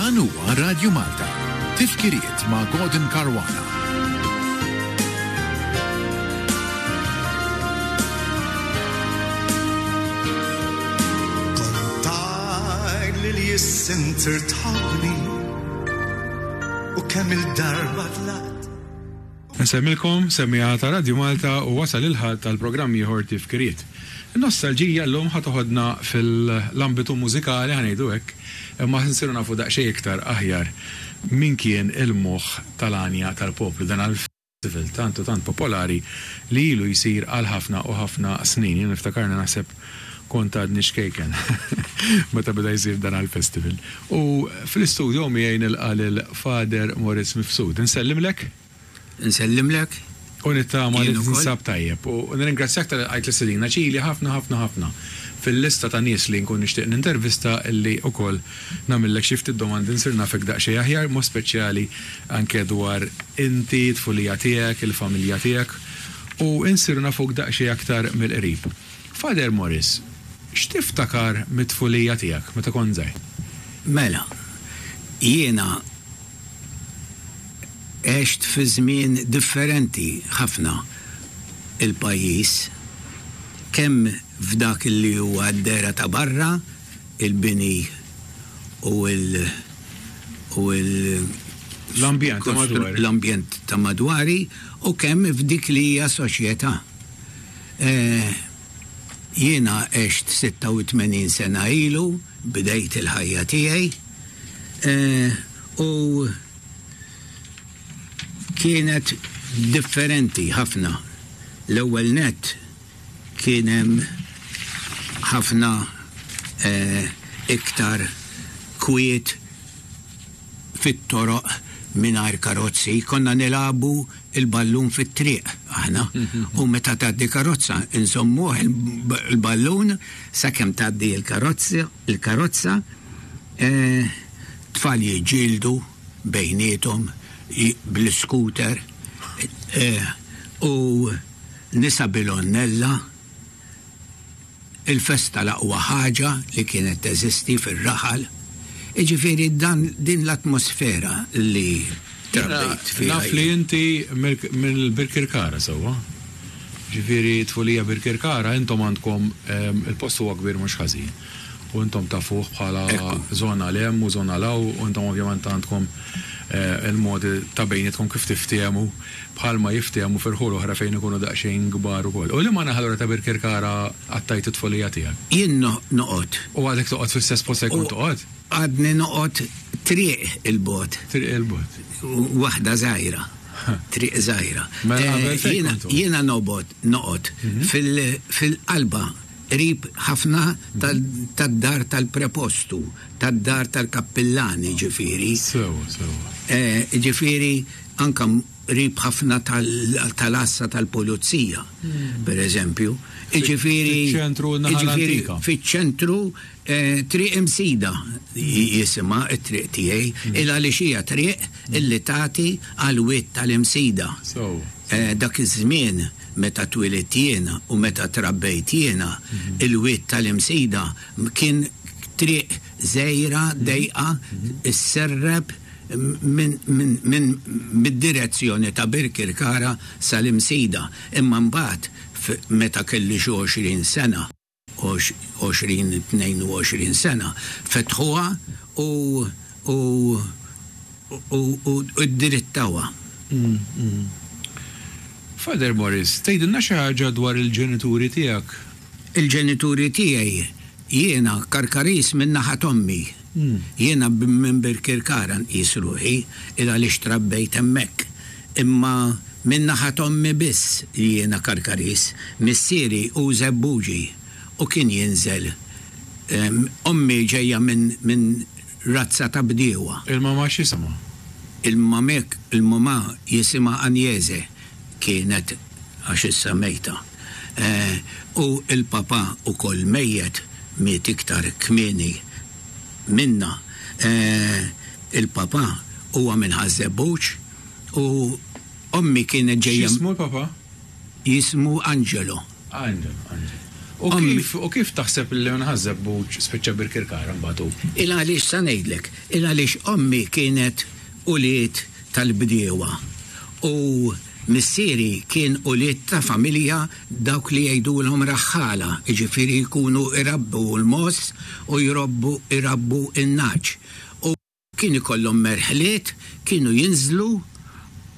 Dan huwa Radju Malta. Tifkiriet ma' Gordon Caruana. Kont tgħid li l-jissintir tħobbni u kemm il-darba tlaqt. Nsemmilkom, semmiegħa ta' Radju Malta u wasal il-Ħadd għal programm ieħor Tifkiriet. In-nostalġija llum ħa toħodna fil-ambitu mużikali, ħa ngħidu hekk, imma ħa nsiru nafu daqsxejn iktar aħjar min kien il-moħħ tal-għanja tal-poplu, dan għall-festival tant u tant popolari li ilu jsir għal ħafna u ħafna snin. Jien niftakarni naħseb kont għadni ċkejken meta beda jsir dan għall-festival. U fl-istudio miegħi nilqa' lil Father Moritz Mifsud. Insellimlek. Insellimlek. U nittama li tinsab tajjeb. U nirringrazzjak talli lqajt l-istedina ċili ħafna ħafna ħafna fil-lista ta' nies li nkun nixtieq nintervista illi wkoll nagħmillek xi ftit domandi nsir nafek daqsxejn aħjar, mod speċjali anke dwar inti, t-tfulija tiegħek, il-familja tiegħek u nsiru nafuk daqsxejn aktar mill-qrib. Father Morris, x'tiftakar mit-tfulija tiegħek meta kont żgħir? Mela, jiena għext fi żmien differenti ħafna il-pajjiż, kemm f'dak li huwa d-dehra ta' barra, il-bini u l u l L-ambjent ta' madwari. L-ambjent ta' madwari u kemm f'dik li hija soċjetà. Jiena għext 86 sena ilu, bdejt il-ħajja tiegħi, u kienet differenti ħafna. L-ewwel nett kien hemm ħafna iktar kwiet fit-toroq mingħajr karozzi, konna nilagħbu l-ballun fit-triq aħna u meta tgħaddi karozza nżommuh il-ballun sakemm tgħaddi l-karozza, il-karozza, tfal jiġġieldu bejniethom bl-iscooter u nisa bil-għonnella. Il-festa l-aqwa ħaġa li kienet teżisti fir-raħal. Jiġifieri dan din l-atmosfera li trabbejt fiha. Naf li inti mill-Birkirkara sewwa. Ġifieri tfulija Birkirkara intom għandkom il-post huwa kbir mhux ħażin. U intom tafuh bħala żona 'l hemm u żona 'l hawn u intom ovvjament għandkom il-modi ta' bejnietkom kif tiftehmu. Bħalma jiftehmu fi rħul oħra fejn ikunu daqsxejn kbar ukoll. U liema naħa allura ta' Birkirkara qattajt it-tfulija tiegħek? Jien noqgħod. U għadek toqgħod fl-istess post fejn kont toqgħod? Għadni noqgħod triq 'il bogħod. Triq 'il bogħod. Waħda żgħira. Triq żgħira. Mela qabel fejn kont toqgħod? Jiena nobgħod noqgħod fil-qalba qrib ħafna tad-dar tal-prepostu, tad-dar tal-kappillan, jiġifieri. Sewwa, sewwa. Jiġifieri anke qrib ħafna tal-għassa tal-pulizija, per eżempju. Jiġifieri. Fiċ-ċentru n-naħa l-antika. Fiċ-ċentru Triq Imsida jisimha t-triq tiegħi, il għaliex hija triq illi tagħti għall-wied tal-Imsida. Dak iż-żmien meta twilidt jiena u meta trabbejt jiena, il-wied tal-Imsida kien triq żgħira, dejqa, isserrep minn mid-direzzjoni ta' Birkirkara sal-Imsida. Imma mbagħad meta kelli xi 20 sena, 20, 22 sena, fetħuha u u u u ddirittawha. Father Morris, tgħidilna xi ħaġa dwar il-ġenituri tiegħek? Il-ġenituri tiegħi, jiena Karkariż min-naħa t'ommi. Jiena minn Birkirkara nqis ruħi, il għaliex trabbejt hemmhekk. Imma min-naħa t'ommi biss li jiena Karkariż. Missieri hu Żebbuġi u kien jinżel. Ommi ġejja minn minn razza ta' bdiewa. Il-mamà x'jisimha? Il-mamek, il-mamà jisimha Agnese, kienet għax issa mejta. U l-papà ukoll mejjet, miet iktar kmieni minna. Il-papà huwa minn Ħaż-Żebbuġ u ommi kienet ġejja. X'jismu l-papà? Jismu Angelo. Angelo, Angelo. U kif u kif taħseb li minn Ħaż-Żebbuġ spiċċa Birkirkara mbagħad hu? Il għaliex sa ngħidlek, il għaliex ommi kienet ulied tal-bdiewa u missieri kien ulied ta' familja dawk li jgħidulhom raħħala, jiġifieri jkunu jrabbu l-mogħoż u jrobbu jrabbu n-nagħaġ. U Kien ikollhom merħliet, kienu jinżlu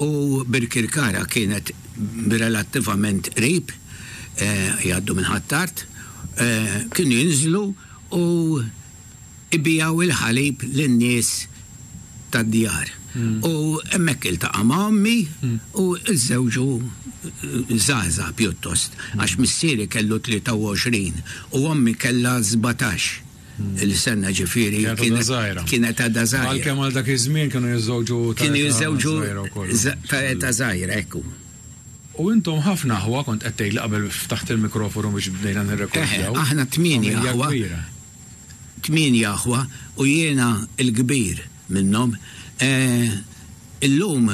u Birkirkara kienet relattivament qrib, jgħaddu minn Ħ'Attard, kienu jinżlu u jbigħu l-ħalib lin-nies tad-djar. U hemmhekk iltaqa' ma' ommi u żżewġu żgħażagħ pjuttost, għax missieri kellu 23 u ommi kellha 17. Il-sena ġifieri kienet għadha żgħira. Għalkemm għal dak iż-żmien kienu jiżżewġu ta' Kienu jiżżewġu ta' età żgħira, ekku. U intom ħafna aħwa kont qed tgħidli qabel ftaħt il-mikrofonu biex bdejna nirrekordjaw. Aħna tmienja aħwa. Tmienja aħwa u jiena l-kbir minnhom. Illum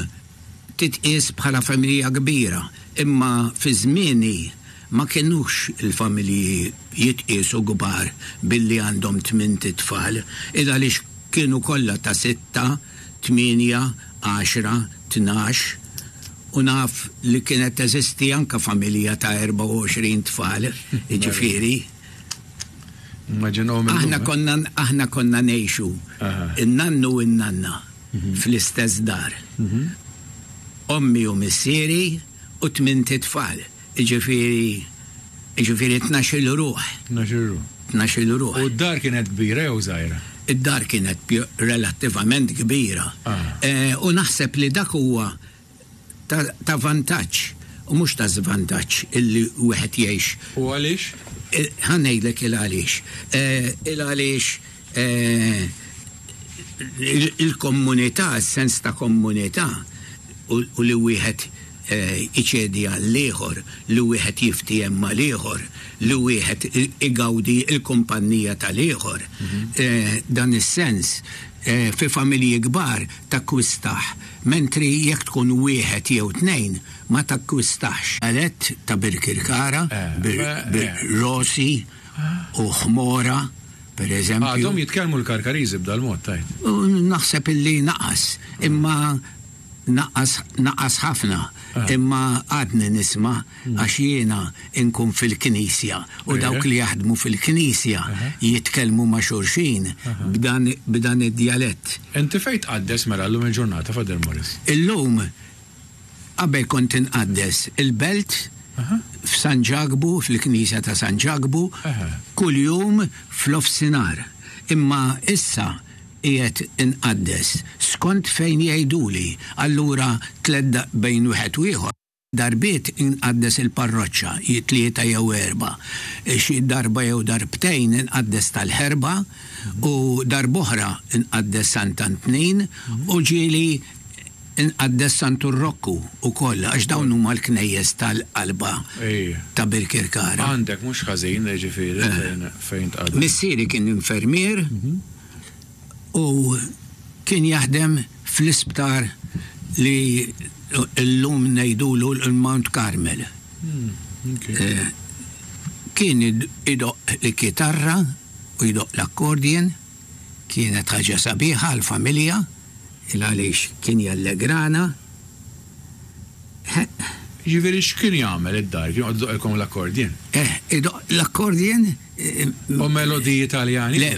titqies bħala familja kbira, imma fi żmieni ma kinux il-familji jitqiesu kbar billi għandhom tmint itfal, il għaliex kienu kollha ta' sitta, tmienja, għaxra, 12, u naf li kienet teżisti anke familja ta' 24 tfal, jiġifieri. Immaġinahom illum. Aħna konna aħna konna ngħixu, in-nannu u n-nanna. fl-istess dar. Ommi u missieri u tmint itfal, jiġifieri jiġifieri 12-il ruħ. 12-il ruħ. 12-il ruħ. U d-dar kienet kbira jew żgħira? Id-dar kienet relattivament kbira. U naħseb li dak huwa ta' vantaġġ u mhux ta' żvantaġġ illi wieħed jgħix. U għaliex? Ħa ngħidlek il għaliex. Il għaliex il-komunità, is-sens ta' komunità u li wieħed iċedi għall-ieħor, li wieħed jiftiehem mal-ieħor, li wieħed igawdi l-kumpannija tal-ieħor, dan is-sens fi familji kbar takkwistah, mentri jekk tkun wieħed jew tnejn ma takkwistahx. Djalett ta' Birkirkara, bir-Rosi u Ħmora, per eżempju. Għadhom jitkellmu l-Karkariżi b'dal-mod, tgħid? Naħseb illi naqas, imma naqas naqas ħafna, imma għadni nisma' għax jiena nkun fil-knisja u dawk li jaħdmu fil-knisja jitkellmu ma' xulxin b'dan b'dan id-djalett. Inti fejn tqaddes mela llum il-ġurnata, Father Maurice? Illum, qabel kont inqaddes il-Belt, f'San Ġakbu, fil-knisja ta' San Ġakbu, kuljum f'nofsinhar. Imma issa qiegħed inqaddes skont fejn jgħiduli, allura tlett bejn wieħed u ieħor. Darbiet inqaddes il-parroċċa, tlieta jew erbgħa. Xi darba jew darbtejn inqaddes tal-Ħerba u darb'oħra nqaddes Sant'Antnin u ġieli nqaddes Santu Rokku wkoll għax dawn huma l-knejjes tal-qalba ta' Birkirkara. Għandek mhux ħażin jiġifieri fejn tqaddes. Missieri kien infermier u kien jaħdem fl-isptar li llum ngħidulu l-Mount Carmel. Kien idoqq il-kitarra u jdoqq l-accordion, kienet ħaġa sabiħa għall-familja il għaliex kien jallegrana. Jiġifieri x'kien jagħmel id-dar? Kien joqgħod idoqqilkom l-accordion? Eh, idoqq l-accordion. U melodiji Taljani? Le,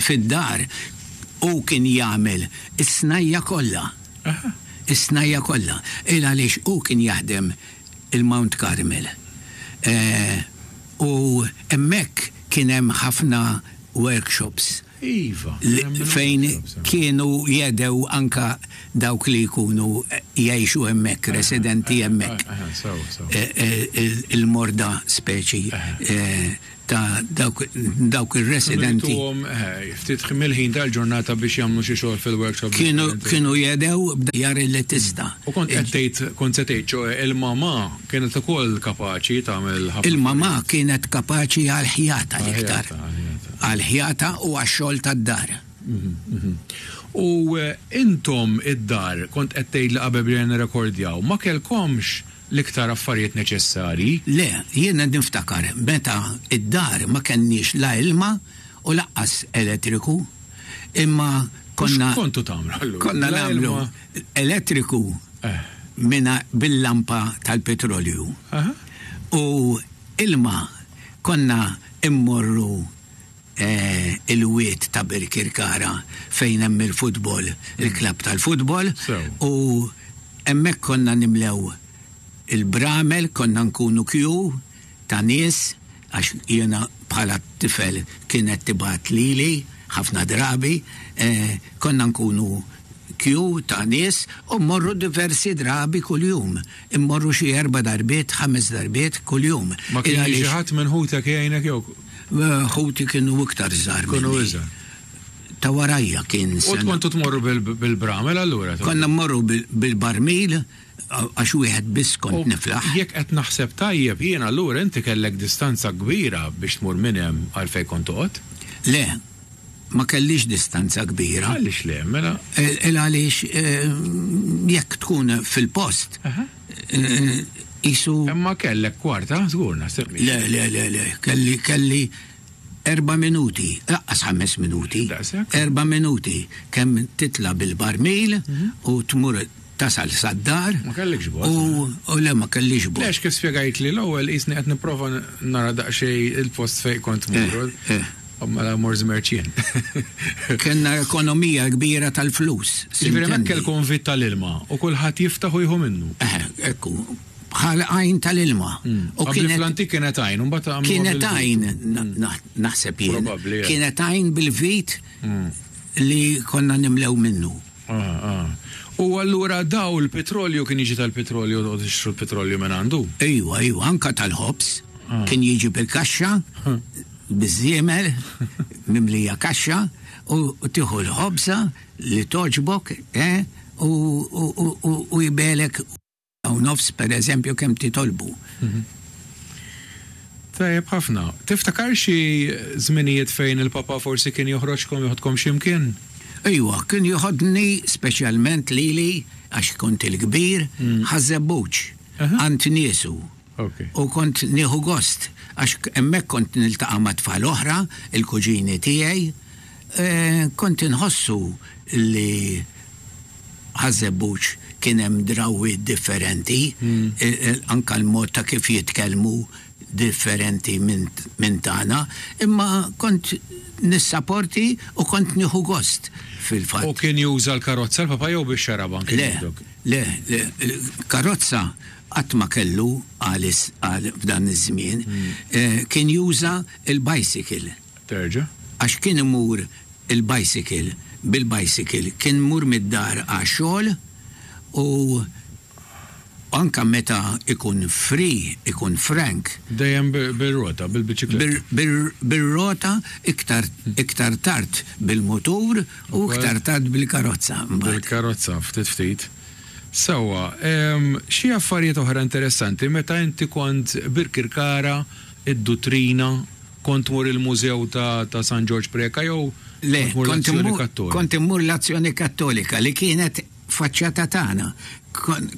fid-dar hu kien jagħmel is-snajja' kollha. Is-snajja' kollha. Il għaliex hu kien jaħdem il-Mount Carmel. U hemmhekk kien hemm ħafna workshops. Iva. Fejn kienu jedew anka dawk li jkunu jgħixu hemmhekk, residenti hemmhekk. Il-morda speċi ta' dawk ir-residenti. Ftit mill-ħin tal-ġurnata biex jagħmlu xi xogħol fil-workshop. Kienu jedew b'djar li tista'. U kont qed tgħid, kont se tgħid, ċoe il-mamà kienet ukoll kapaċi tagħmel ħafna. Il-mamà kienet kapaċi għall-ħjata l-iktar. Għall-ħjata u għax-xogħol tad-dar. U intom id-dar, kont qed tgħidli qabel bdejna nirrekordjaw, ma kellkomx. l-iktar affarijiet neċessarji. Le, jiena niftakar meta id-dar ma kenniex la ilma u lanqas elettriku, imma konna. X'kontu tagħmlu allura? Konna nagħmlu elettriku minna bil-lampa tal-petrolju. U ilma konna immorru il-wied ta' Birkirkara fejn hemm il-futbol, il-klabb tal-futbol, u hemmhekk konna nimlew il-bramel, konna nkunu kju ta' nies, għax jiena bħala tifel kienet tibgħat lili ħafna drabi, konna nkunu kju ta' nies u mmorru diversi drabi kuljum. Immorru xi erba' darbiet, ħames darbiet kuljum. Ma kien jiġi ħadd minn ħutek jgħinek jew? Ħuti kienu iktar żgħar. Kienu iżgħar. Ta' warajja kien. U kontu tmorru bil-bramel allura? Konna mmorru bil-barmil għax wieħed biss kont niflaħ. Jekk qed naħseb tajjeb jien allura inti kellek distanza kbira biex tmur minn hemm għal fejn kont toqgħod? Le, ma kellix distanza kbira. Għaliex le, mela? Il għaliex jekk tkun fil-post, qisu. Imma kellek kwarta, żgur naħseb. Le, le, le, le, kelli, kelli 4 minuti, laqqas 5 minuti. Daqshekk? 4 minuti kemm titla' bil-barmil u tmur tasal sad-dar. Ma kellekx bot. U le ma kellix bot. Le, għax kif spjegajtli l-ewwel qisni qed nipprova nara daqsxejn il-post fejn kont tmur. Mela mor żmerċ jien. Kellna ekonomija kbira tal-flus. Jiġifieri hemmhekk kellkom vit tal-ilma u kulħadd jiftaħ u jieħu minnu. Ekku, bħal għajn tal-ilma. U kienet fl-antik kienet għajn, u mbagħad għamluha Kienet għajn, naħseb jien. Probabbli, eh. Kienet għajn bil-vit li konna nimlew minnu. U allura daw il-petrolju kien jiġi tal-petrolju u tixtru l-petrolju minn għandu? Ejwa, ejwa, anka tal-ħobż. Kien jiġi bil-kaxxa, biż-żiemel, mimlija kaxxa, u tieħu l-ħobża li toġbok, u jbelek u nofs, per eżempju, kemm titolbu. Tajjeb ħafna. Tiftakar xi żminijiet fejn il-papa forsi kien joħroġkom, joħodkom xi mkien? Ejwa, kien joħodni speċjalment lili, għax kont il-kbir, Ħaż-Żebbuġ, għand niesu. U kont nieħu gost, għax hemmhekk kont niltaqa' ma' tfal oħra, il-kuġini tiegħi. Kont inħossu li Ħaż-Żebbuġ kien hemm drawwiet differenti, anke l-mod ta' kif jitkellmu differenti minn tagħna, imma kont nissaporti u kont nieħu gost fil-fatt. U kien juża l-karozza l-papa jew bix-xarabank kien jieħdok? Le, le, karozza qatt ma kellu għal f'dan iż-żmien. Kien juża l-bicycle. Terġa'? Għax kien imur il-bicycle, bil-bicycle, kien imur mid-dar għax-xogħol u anke meta ikun free, ikun frank. Dejjem bir-rota, bil-biċikletta. Bir-rota, iktar iktar tard bil-mutur u iktar tard bil-karozza mbagħad. Bil-karozza, ftit ftit. Sewwa, xi affarijiet oħra interessanti meta inti kont Birkirkara, id-Duttrina, Kont tmur il-mużew ta' San Ġorġ Preca jew Le, kont tmur l-Azzjoni Kattolika? Kont immur l-Azzjoni Kattolika li kienet faċċata tagħna.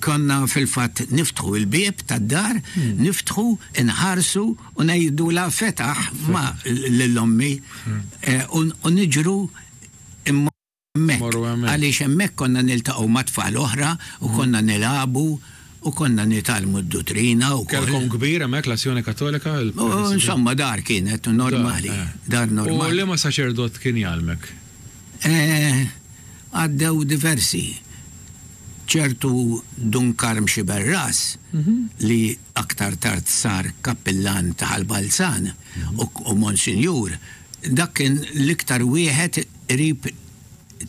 Konna fil-fatt niftħu l-bieb tad-dar, niftħu, inħarsu u ngħidulha fetaħ ma lil ommi u niġru hemmhekk. Għaliex hemmhekk konna niltaqgħu ma' tfal oħra u konna nilagħbu u konna nitgħallmu d-duttrina wkoll. Kellkom kbir hemmhekk l-Azzjoni Kattolika? Insomma dar kienet normali, dar normali. U liema saċerdot kien jgħallmek? Għaddew diversi. Ċertu Dun Karm Xiberras li aktar tard sar kappillan ta' Ħal Balzan u Monsinjur, dak kien l-iktar wieħed qrib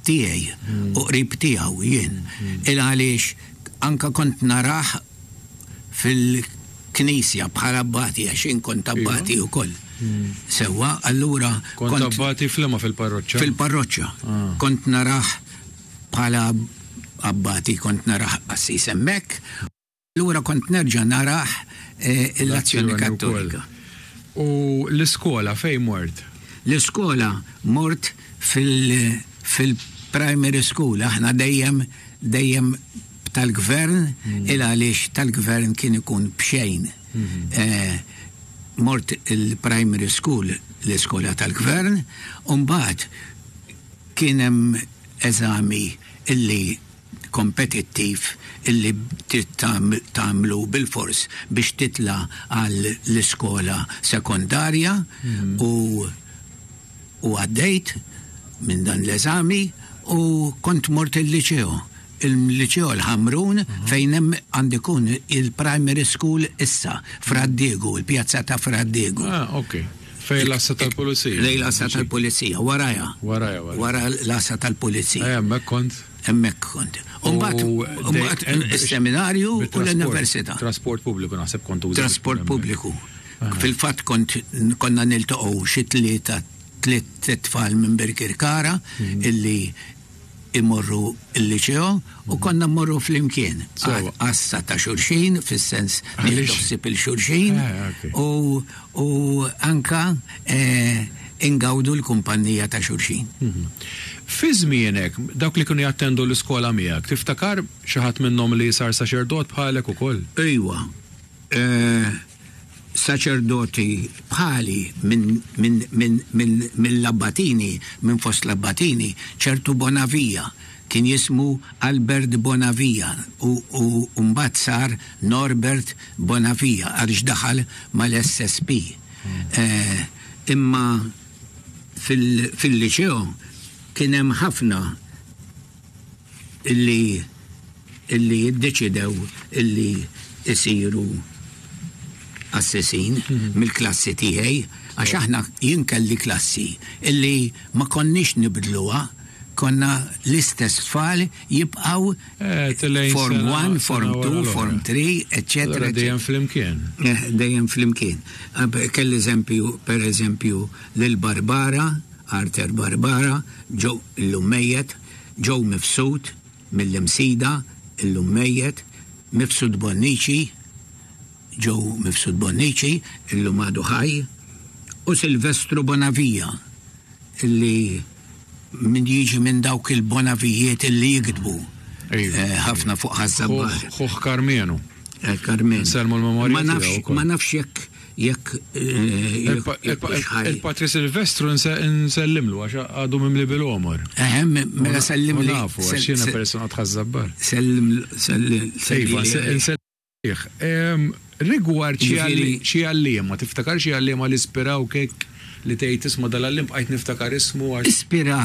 tiegħi u qrib tiegħu jien. Il għaliex anke kont narah fil-knisja bħala abbati għax jien kont abbati wkoll. Sewwa, allura kont abbati f'liema fil-parroċċa? Fil-parroċċa. Kont narah bħala abbati, kont narah qassis hemmhekk. Allura kont nerġa' narah l-Azzjoni Kattolika. U l-iskola fejn mort? L-iskola mort fil-primary school, aħna dejjem dejjem b'tal-gvern il għaliex tal-gvern kien ikun b'xejn. Mort il-primary school, l-iskola tal-gvern, u mbagħad kien hemm eżami illi kompetittiv illi trid tagħmlu bilfors biex titla' għal l-iskola sekondarja u u għaddejt minn dan l-eżami u kont mort il-liċeo. Il-liċeo l-Ħamrun fejn hemm għandu jkun il-primary school issa, Fra Diegu, il-pjazza ta' Fra Diegu. Ah, ok. Fejn l-għassa tal-pulizija. Lejn l-għassa tal-pulizija, warajha. Warajha, warajha. Wara l-għassa tal-pulizija. Eh, hemmhekk kont. Hemmhekk kont. U mbagħad is-seminarju u l-università. Trasport pubbliku naħseb kont uża. Trasport pubbliku. Fil-fatt kont konna niltaqgħu xi tlieta tliet tfal minn Birkirkara illi imorru l-liċeo u konna mmorru flimkien. Għassa ta' xulxin, fis-sens nieħdu ħsieb il-xulxin u anka ingawdu l-kumpannija ta' xulxin. Fi żmienek, dawk li kienu jattendu l-iskola miegħek, tiftakar xi ħadd minnhom li sar saċerdot bħalek ukoll? Ejwa. Saċerdoti bħali mill-Abbatini, minn fost l-Abbatini, ċertu Bonavia, kien jismu Albert Bonavia u mbagħad sar Norbert Bonavia għaliex daħal mal-SSP. Imma fil-liċeo kien hemm ħafna illi illi iddeċidew illi jsiru qassisin mill-klassi tiegħi għax aħna jien kelli klassi illi ma konniex nibdluha konna l-istess tfal jibqgħu form 1, form 2, form 3, eċċetera. Dejjem flimkien. Dejjem flimkien. Kelli eżempju, per eżempju, lil Barbara, Arthur Barbara, ġew illum mejjet, Joe Mifsud, mill-Imsida, illum mejjet, Mifsud Bonnici, Joe Mifsud Bonnici, illum għadu ħaj, u Silvestru Bonavia, illi min jiġi minn dawk il-Bonavijiet illi jiktbu ħafna fuq Ħaż-Żabbar. Ħuh Karmenu. Karmenu. Insellmu l-memorja tiegħu wkoll. Ma nafx jekk Jekk Il-Patri Silvestru nsellimlu għax għadu mimli bil-għomor. Eħe, mela sellimli. Nafu, għax jiena persuna tħaż-Żabbar. Sellim, sellim. Iva, nsellih. Rigward xi għalliema, tiftakar xi għalliema li ispirawk hekk li tgħid isma' dal-għalliem bqajt niftakar ismu għax. Ispira,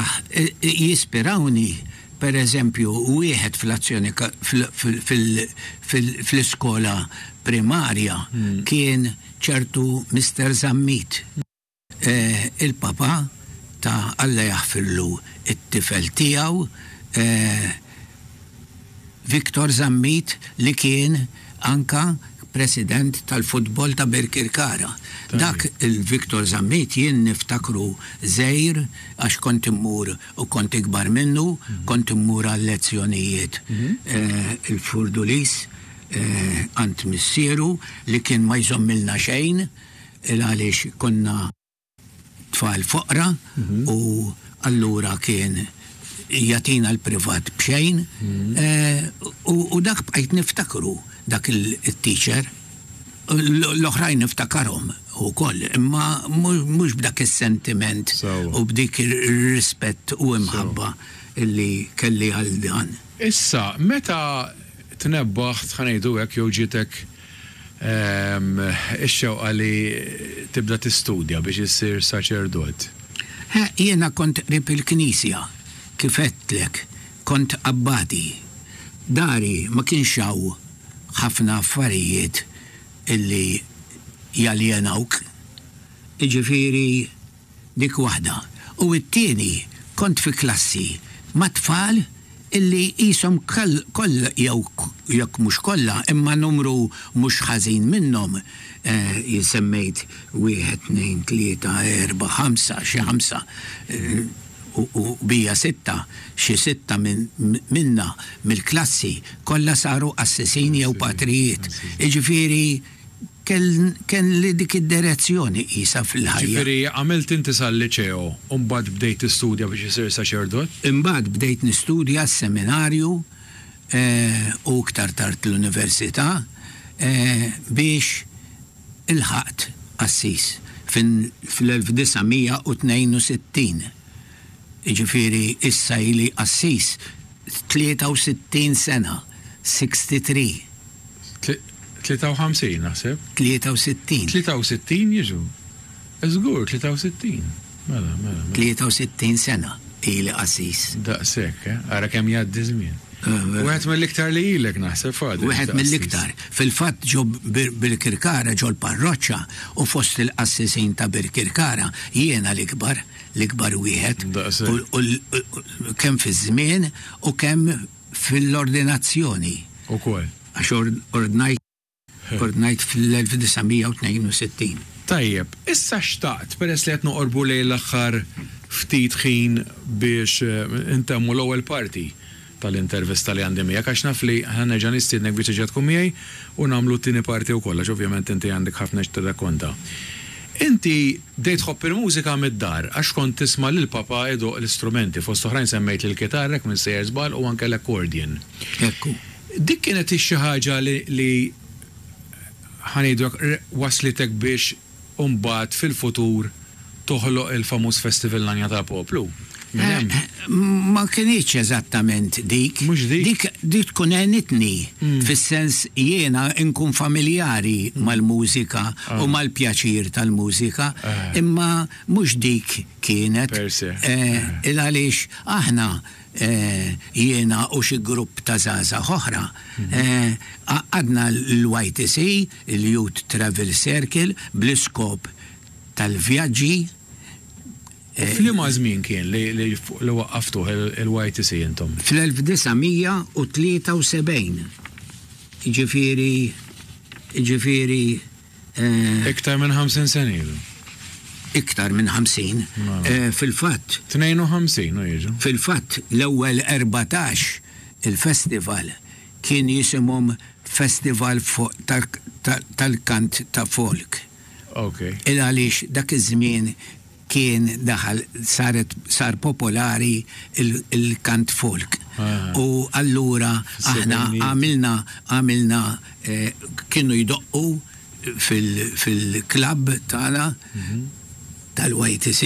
jispirawni Per eżempju, wieħed fl-azzjoni fl-iskola primarja kien ċertu Mister Zammit. Il-papà ta' Alla jaħfirlu t-tifel tiegħu Victor Zammit li kien anka president tal-futbol ta' Birkirkara. Dak il-Victor Zammit jien niftakru żgħir għax kont immur u kont ikbar minnu, kont immur għal-lezzjonijiet il-Furdulis għand missieru li kien ma jżommilna xejn il għaliex konna tfal foqra u allura kien jagħtina l-privat b'xejn u dak bqajt niftakru dak it-teacher. L-oħrajn niftakarhom ukoll, imma mhux b'dak is-sentiment u b'dik ir-rispett u imħabba li kelli għal dan. Issa, meta tnebbaħt, ħa ngħidu hekk, jew ġietek ix-xewqa li tibda tistudja biex issir saċerdot? Jiena kont qrib il-knisja, kif għedtlek, kont abbati. Dari ma kienx hawn ħafna affarijiet illi jaljenawk. Jiġifieri dik waħda. U t-tieni kont fi klassi ma' tfal illi qishom kollha jew jekk mhux kollha imma numru mhux ħażin minnhom, jien semmejt wieħed, tnejn, tlieta, erba', ħamsa, xi ħamsa, u bija sitta, xi sitta minna mill-klassi kollha saru qassisin jew patrijiet. Jiġifieri kelli dik id-direzzjoni qisha fil-ħajja. Jiġifieri għamilt inti sal-liċeo u mbagħad bdejt tistudja biex isir saċerdot? Imbagħad bdejt nistudja s-seminarju. u iktar tard l-Università biex ilħaqt qassis fl-1962. Jiġifieri issa ili qassis 63 sena, 63. 53 naħseb. 63. 63 jiġu. Żgur, 63. Mela, mela, mela. 63 sena ili qassis. Daqshekk, eh? Ara kemm jgħaddi żmien. Wieħed mill-iktar li ilek naħseb Father. Wieħed mill-iktar. Fil-fatt ġo Birkirkara ġo l-parroċċa u fost il-qassisin ta' Birkirkara jiena l-ikbar, l-ikbar wieħed. Daqshekk. U kemm fiż-żmien u kemm fil-ordinazzjoni. Ukoll. Għax ordnajt ordnajt fl-1962. Tajjeb, issa xtaqt, peress li qed noqorbu lejn l-aħħar ftit ħin biex intemmu l-ewwel parti tal-intervista li għandi miegħek, għax naf li ħa nerġa' nistiednek biex terġa' tkun miegħi u nagħmlu t-tieni parti wkoll, għax ovvjament inti għandek ħafna x'tirrakkonta. Inti bdejt tħobb il-mużika mid-dar għax kont tisma' lil papà idoqq l-istrumenti, fost oħrajn semmejt l-kitarra jekk m'iniex sejjer żball u anke l-accordion. Hekk hu. Dik kienet xi ħaġa li li ħa ngħidu hekk wasslitek biex imbagħad fil-futur toħloq il-famuż Festival L-Għanja tal-Poplu? Minn hemm? Ma kinitx eżattament dik. Mhux dik? Dik dik tkun għenitni fis-sens jiena nkun familjari mal-mużika u mal-pjaċir tal-mużika, imma mhux dik kienet. Per se. Il għaliex aħna jiena u xi grupp ta' żgħażagħ oħra, għaqqadna l-YTC, il-Youth Travel Circle, bl-iskop tal-vjaġġi. F'liema żmien kien li waqqaftuh il-YTC intom? Fl-1973, jiġifieri, jiġifieri, Iktar minn 50 sena ilu. Iktar minn 50. Fil-fatt. 52 u jiġu. Fil-fatt l-ewwel 14 il-festival kien jisimhom Festival tal-Kant ta' Folk. Ok. Il għaliex dak iż-żmien kien daħal saret sar popolari il-kant folk. U allura aħna għamilna għamilna kienu jdoqqu fil-klabb tagħna tal-YTC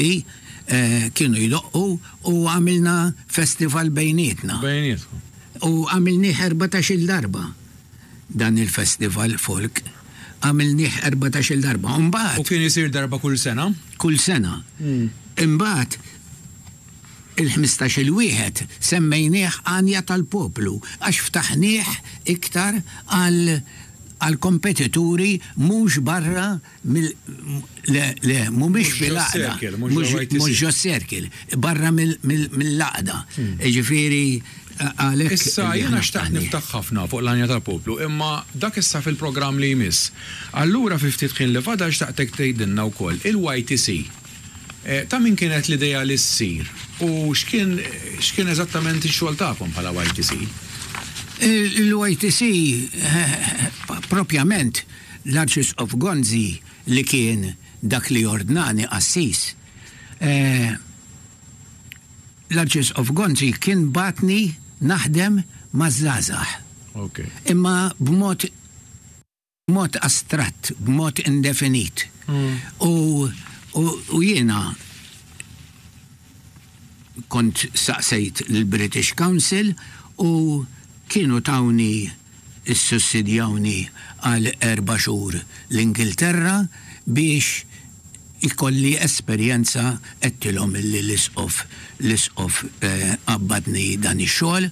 kienu jdoqqu u għamilna festival bejnietna. Bejnietkom. U għamilnieh 14-il darba. Dan il-festival folk għamilnieh 14-il darba. U mbagħad. U kien isir darba kull sena? Kull sena. Imbagħad il-ħmistax-il wieħed semmejnieh Għanja tal-Poplu għax ftaħnieh iktar għal għall-kompetituri mhux barra mill le le mhumiex fil-għaqda. Mhux ġo circle, barra mill-għaqda. Jiġifieri għalhekk. Issa jiena xtaqt niftaħ ħafna fuq l-Għanja tal-Poplu, imma dak issa fil-programm li jmiss. Allura fi ftit ħin li fadal xtaqtek tgħidilna wkoll il-YTC. Ta' min kienet l-idea li ssir u x'kien x'kien eżattament ix-xogħol tagħkom bħala YTC? Il-YTC propjament L-Arċisqof Gonzi li kien dak li ordnani qassis, l-Arċisqof Gonzi kien bagħatni naħdem maż-żgħażagħ. Imma b'mod b'mod astratt, b'mod indefinit. U u jiena kont saqsejt lill-British Council u kienu tawni issussidjawni għal erba' xhur l-Ingilterra biex ikolli esperjenza għedtilhom illi l-Isqof l-Isqof qabbadni dan ix-xogħol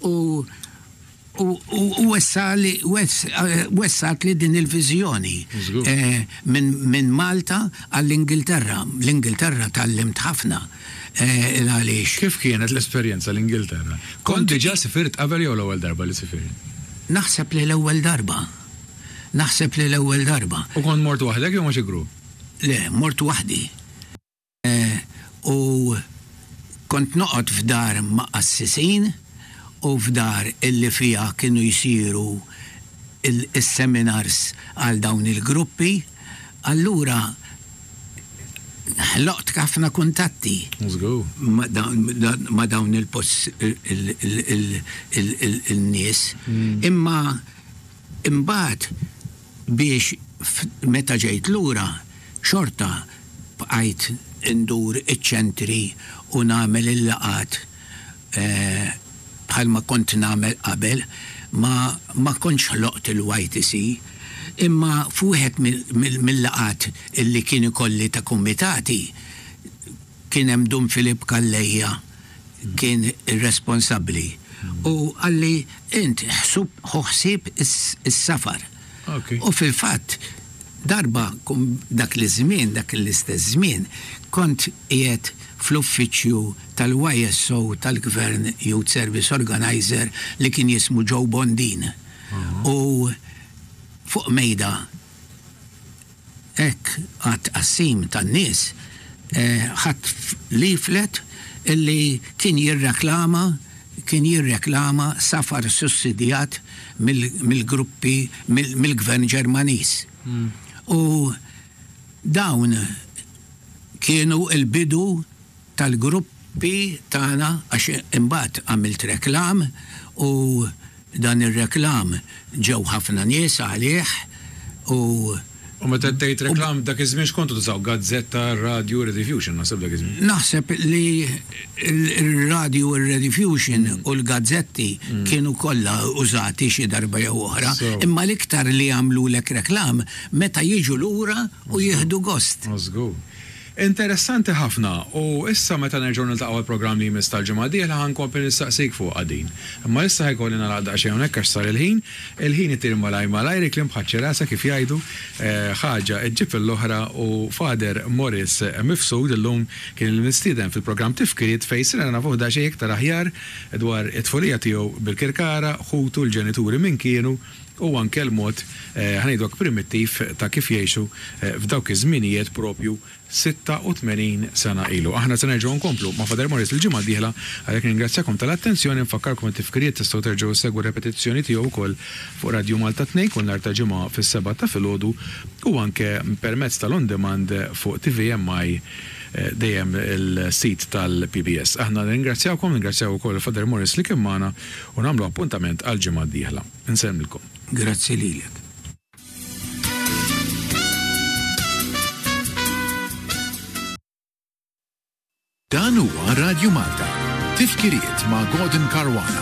u u u wessali wessatli din il-viżjoni minn minn Malta għall-Ingilterra. L-Ingilterra tgħallimt ħafna għaliex. Kif kienet l-esperjenza l-Ingilterra? Kont diġà sifirt qabel jew l-ewwel darba li sifirt? Naħseb li l-ewwel darba. Naħseb li l-ewwel darba. U kont mort waħdek jew ma' xi grupp? Le, mort waħdi. U kont noqgħod f'dar ma' qassisin u f'dar illi fiha kienu jsiru is-seminars għal dawn il-gruppi. Allura. Ħloqt ħafna kuntatti ma' dawn il-nies. Imma imbagħad biex meta ġejt lura xorta bqajt indur iċ-ċentri u nagħmel il-laqgħat bħalma kont nagħmel qabel, ma ma kontx ħloqt il-YTC, imma f'wieħed mill-laqgħat illi kien ikolli ta' kumitati kien hemm Dun Filip Calleja kien ir-responsabbli u qalli int ħsub ħu ħsieb is-safar. U fil-fatt darba dak l-iż-żmien, dak l-istess żmien, kont qiegħed fl-uffiċċju tal-YSO tal-Gvern Youth Service Organiser li kien jismu Joe Bondin u fuq mejda hekk għat-tqassim tan-nies ħadt leaflet illi kien jirreklama kien jirreklama safar sussidjat mill-gruppi mill-Gvern Ġermaniż. U dawn kienu l-bidu tal-gruppi tagħna għax imbagħad għamilt reklam u dan ir-reklam ġew ħafna nies għalih u U meta tgħid reklam dak iż-żmien x'kontu tużaw? Gazzetta, radju, Rediffusion naħseb dak iż-żmien. Naħseb li r-radju, ir-Rediffusion u l-gazzetti kienu kollha użati xi darba jew oħra, imma l-iktar li jagħmlulek reklam meta jiġu lura u jieħdu gost. Żgur. Interessanti ħafna u issa meta nerġgħu niltaqgħu għall-programm li jmiss tal-ġimgħa d-dieħla ħa nkompli nistaqsik fuqha din. Imma issa ħa jkolli nagħlaq daqsxejn hawnhekk għax sar il-ħin. Il-ħin itir malajr malajr, il-kliem bħaċ-ċirasa kif jgħidu, ħaġa ġġib lill-oħra u Father Maurice Mifsud illum kien il-mistieden fil-programm Tifkiriet fejn sirna nafuh daqsxejn iktar aħjar dwar it-tfulija tiegħu bil-Kirkara, ħutu, l-ġenituri min kienu, u anke l-mod, ħa ngħidu hekk, primittiv ta' kif jgħixu f'dawk iż-żminijiet propju 86 sena ilu. Aħna se nerġgħu nkomplu ma' Father Maurice il-ġimgħa d-dieħla, għalhekk nirringrazzjakom tal-attenzjoni, nfakkarkom it-tifkiriet tistgħu terġgħu ssegwu r-repetizzjoni tiegħu wkoll fuq Radju Malta 2 kull nhar ta' Ġimgħa fis-sebgħa ta' filgħodu u anke permezz tal-on demand fuq TVMI dejjem il-sit tal-PBS. Aħna nirringrazzjawkom, nirringrazzjaw ukoll il-Father Maurice li kien magħna u nagħmlu appuntament għall-ġimgħa d-dieħla. Insellmilkom. Grazzi lilek. Dan huwa Radju Malta. Tifkiriet ma' Gordon Caruana.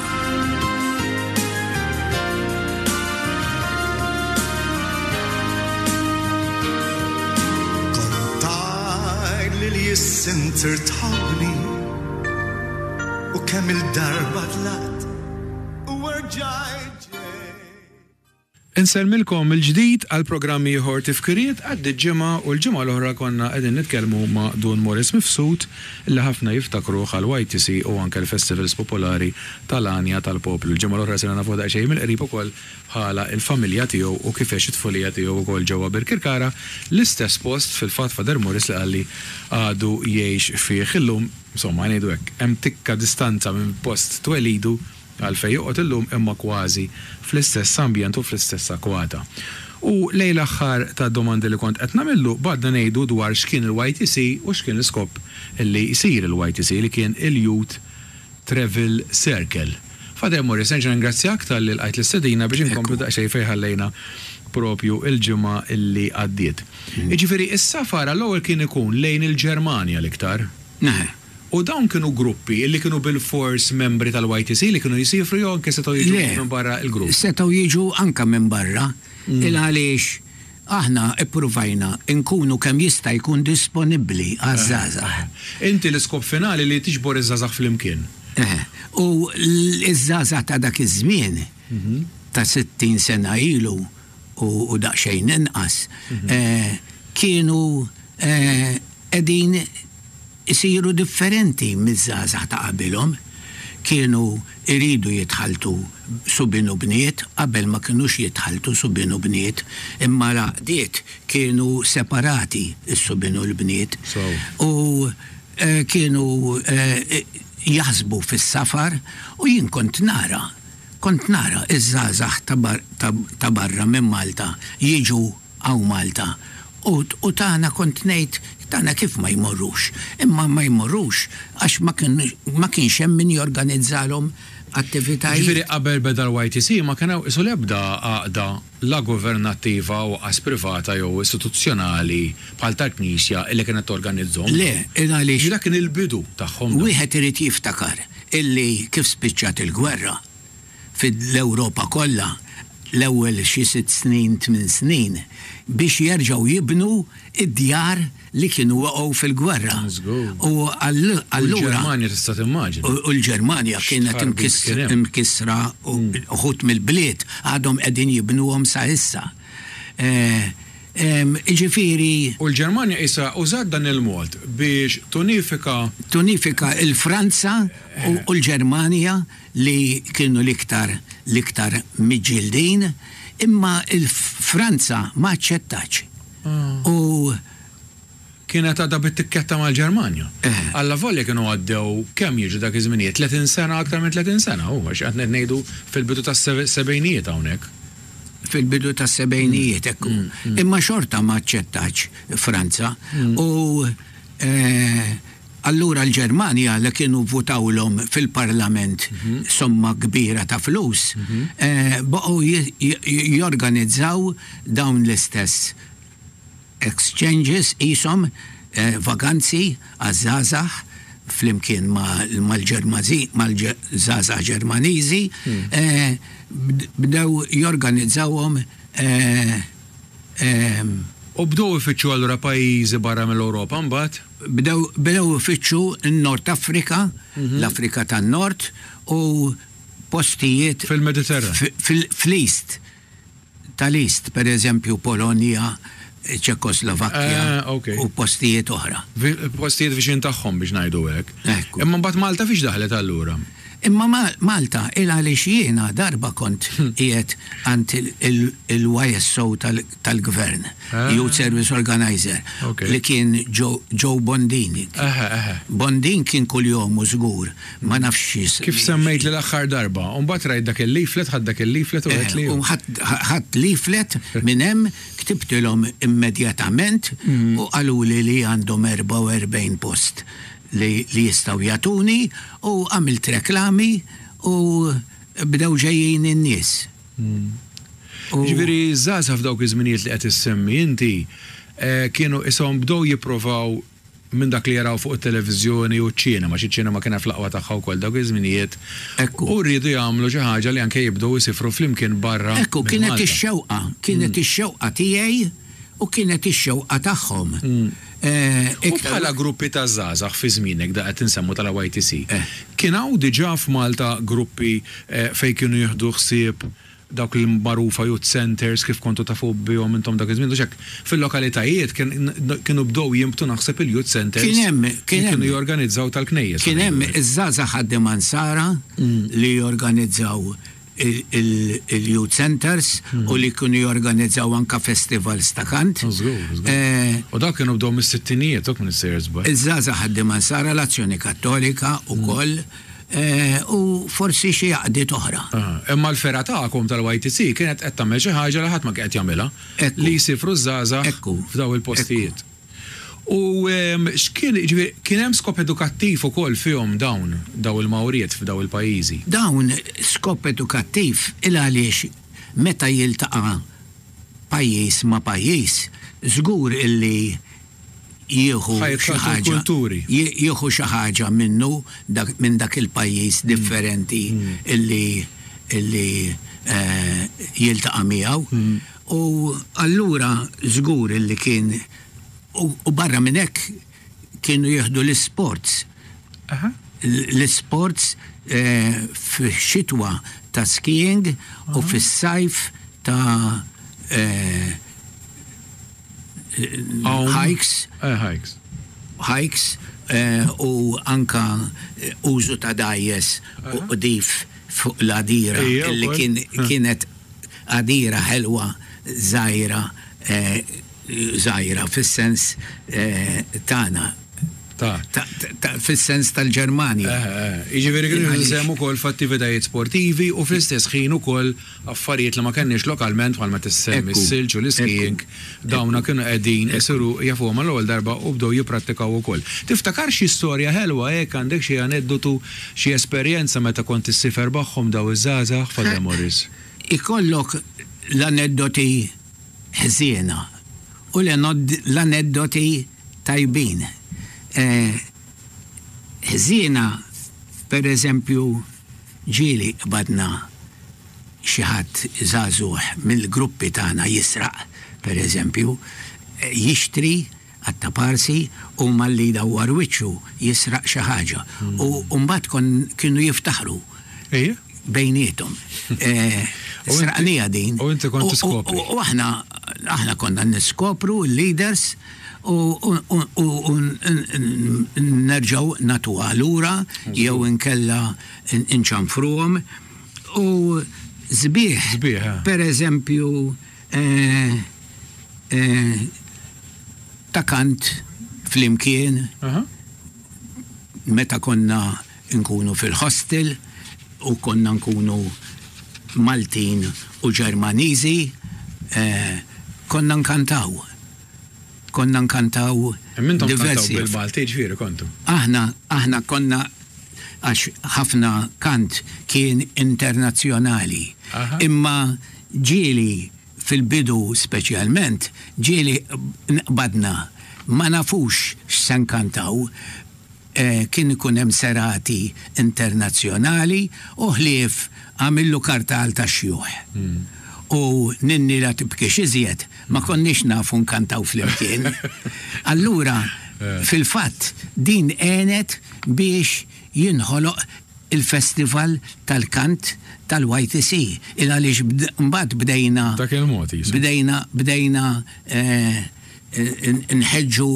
Kont tgħid li l-jissinter tħobbni u kemm il-darba tlaqt U rġajt ġejt. Insellmilkom mill-ġdid għal programm ieħor Tifkiriet għaddiet ġimgħa u l-ġimgħa l-oħra konna qegħdin nitkellmu ma' Dun Maurice Mifsud li ħafna jiftakruh għall-YTC u anke l-festivals popolari tal-għanja tal-poplu. Il-ġimgħa l-oħra sirna nafuh daqsxejn mill-qrib ukoll bħala l-familja tiegħu u kif għex it-tfulija tiegħu wkoll ġewwa Birkirkara, l-istess post fil-fatt Father Maurice li qalli għadu jgħix fih illum. Insomma, ngħidu hekk, hemm tikka distanza minn post twelidu għal fejn joqgħod illum imma kważi fl-istess ambjent u fl-istess akwata. U lejn l-aħħar tad-domandi li kont qed nagħmillu bgħadna ngħidu dwar x'kien il-YTC u x'kien l-iskop li jsir il-YTC li kien il-Youth Travel Circle. Father Maurice, nerġa' ningrazzjak talli lqajt l-istedina biex inkomplu daqsxejn fejn ħallejna propju l-ġimgħa li għaddiet. Jiġifieri s-safar għall-ewwel kien ikun lejn il-Ġermanja l-iktar. Eħe. U dawn kienu gruppi li kienu bilfors membri tal-YTC li kienu jsifru jew anke setgħu jiġu minn barra l-grupp? Le, setgħu jiġu anke minn barra. Il għaliex aħna ppruvajna nkunu kemm jista' jkun disponibbli għaż-żgħażagħ. Inti l-iskop finali li tiġbor iż-żgħażagħ flimkien. Eħe. U l-żgħażagħ ta' dak iż-żmien, ta' 60 sena ilu u daqsxejn inqas, kienu qegħdin isiru differenti miż-żgħażagħ ta' qabilhom. Kienu jridu jitħalltu subien u bniet, qabel ma kinux jitħalltu subien u bniet, imma l-għaqdiet kienu separati s-subien u l-bniet. U kienu jaħsbu fis-safar u jien kont nara, kont nara ż-żgħażagħ ta' barra minn Malta jiġu hawn Malta u u tagħna kont ngħid Dana kif ma jmorrux? Imma ma jmorrux għax ma kienx hemm min jorganizzalhom attivitajiet. Jiġifieri qabel beda l-YTC ma kien hawn qisu l-ebda għaqda la governattiva u qas privata jew istituzzjonali bħal tal-Knisja illi kienet torganizzhom. Le, il għaliex. Jiġifieri dak kien il-bidu tagħhom dawn. Wieħed irid jiftakar illi kif spiċċat il-gwerra fil-Ewropa kollha l-ewwel xi sitt snin, tmien snin biex jerġgħu jibnu d-djar li kienu waqgħu fil-gwerra. U allura. U l-Ġermanja tista' timmaġina. U l-Ġermanja kienet imkissra u uħud mill-bliet għadhom qegħdin jibnuhom sa issa. Jiġifieri. U l-Ġermanja qisha użat dan il-mod biex tunifika. Tunifika l-Franza u l-Ġermanja li kienu l-iktar l-iktar miġġieldin, imma l-Franza ma aċċettatx. U. Kienet għadha bit-tikketta mal-Ġermanja. Allavolja kienu għaddew kemm jiġu dak iż-żminijiet, 30 sena, aktar minn 30 sena, hu, għax qed ngħidu fil-bidu tas-sebgħinijiet hawnhekk. Fil-bidu tas-sebgħinijiet, hekk hu. Imma xorta ma aċċettatx Franza. U Allura l-Ġermanja li kienu vvutawlhom fil-parlament somma kbira ta' flus, baqgħu jorganizzaw dawn l-istess exchanges qishom vaganzi għaż-żgħażagħ flimkien mal-żgħażagħ Ġermaniżi, bdew jorganizzawhom. U bdew ifittxu allura pajjiżi barra mill-Ewropa mbagħad? Bdew bdew ifittxu n-Nord Afrika, l-Afrika tan-Nord u postijiet Fil-Mediterran. fl-East, tal-East, per eżempju Polonja, Ċekoslovakkja u postijiet oħra. Postijiet viċin tagħhom biex ngħidu hekk. Ekku. Imma mbagħad Malta fiex daħlet allura? Imma Malta il għaliex jiena darba kont qiegħed għand il-YSO tal-Gvern, Youth Service Organiser, li kien Joe Bondin. Bondin kien kuljomu żgur, ma nafx xi. Kif semmejtli l-aħħar darba, u mbagħad rajt dak il-leaflet, ħadt dak il-leaflet u għedtli. U ħadt leaflet minn hemm, ktibtilhom immedjatament u qaluli li għandhom 44 post. li jistgħu jagħtuni u għamilt reklami u bdew ġejjin in-nies. Jiġifieri ż-żgħażagħ f'dawk iż-żminijiet li qed issemmi inti kienu qishom bdew jipprovaw minn dak li jaraw fuq it-televiżjoni u ċ-ċinema, għax iċ-ċinema kienet fl-aqwa tagħha wkoll dawk iż-żminijiet, u riedu jagħmlu xi ħaġa li anke jibdew isifru flimkien barra Ekku, minn kienet Malta. ix-xewqa, kienet ix-xewqa tiegħi u kienet ix-xewqa tagħhom. U bħala gruppi ta' żgħażagħ fi żmienek da qed insemmu tal-YTC, kien hawn diġà f'Malta gruppi fejn kienu jieħdu ħsieb dawk l-magħrufa youth centres kif kontu tafu bihom intom dak iż-żmien, hux hekk? Fil-lokalitajiet kienu bdew jinbtu naħseb il-youth centres li kienu jorganizzaw tal-knejjes. Kien hemm iż-żgħażagħ ħaddiema Nsara li jorganizzaw il-youth centers u li kienu jorganizzaw anka festivals ta' kant. U dawk kienu bdew mis-sittinijiet, dawk minn sejjer żball. Iż-żgħażagħ ħaddiema Nsara, l-Azzjoni Kattolika wkoll u forsi xi għaqdiet oħra. Imma l-fergħa tagħkom tal-YTC kienet qed tagħmel xi ħaġa li ħadd ma kien qed jagħmilha, li jsifru ż-żgħażagħ f'dawn il-postijiet. U x'kien, jiġifieri, kien hemm skop edukattiv ukoll fihom dawn, dawn il-mawriet f'dawn il-pajjiżi? Dawn skop edukattiv il għaliex meta jiltaqa' pajjiż ma' pajjiż, żgur illi jieħu xi ħaġa, jieħu xi ħaġa minnu dak, minn dak il-pajjiż differenti illi illi jiltaqa' miegħu. U allura żgur illi kien u barra minn hekk kienu jieħdu l-isports. L-isports fix-xitwa ta' skiing u fis-sajf ta' hikes. Hikes u anka użu ta' dgħajjes u qdif fuq l-għadira li kienet għadira ħelwa żgħira żgħira fis-sens tagħna. Ta'. Fis-sens tal-Ġermanja. Jiġifieri kienu jieħdu sehem ukoll f'attivitajiet sportivi u fl-istess ħin ukoll affarijiet li ma kenniex lokalment bħal meta ssemmi s-silġ u l-iskiing, dawna kienu qegħdin isiru jafuhom għall-ewwel darba u bdew jipprattikaw ukoll. Tiftakar xi storja ħelwa hekk, għandek xi aneddotu, xi esperjenza meta kont issifer magħhom dawn iż-żgħażagħ, Father Morris? Ikollok l-aneddoti ħżiena u l-aneddoti tajbin. Ħżiena, per eżempju, ġieli qbadna xi ħadd żagħżugħ mill-gruppi tagħna jisraq, per eżempju, jixtri għat-taparsi u malli jdawwar wiċċu jisraq xi ħaġa. U mbagħad kienu jiftaħru. Bejniethom. Sraqnija din. U inti kont tiskopri. U aħna aħna konna niskopru l-leaders u nerġgħu nagħtuha lura jew inkella nċanfruhom. U sbieħ. Sbieħ. Per eżempju, ta' kant flimkien meta konna nkunu fil-hostel u konna nkunu Maltin u Ġermaniżi konna nkantaw. Konna nkantaw diversi. Bil-Malti ġifieri kontu? Aħna, aħna konna għax ħafna kant kien internazzjonali. Imma ġieli fil-bidu speċjalment, ġieli nqbadna ma nafux x'se nkantaw. Kien ikun hemm serati internazzjonali u ħlief għamillu kartal tax-xjuħ. U Ninni la tibkix iżjed ma konniex nafu nkantaw flimkien. Allura, fil-fatt, din għenet biex jinħoloq il-festival tal-kant tal-YTC. Il għaliex mbagħad bdejna. Dak il-mod qisu. Bdejna, bdejna Nħeġġu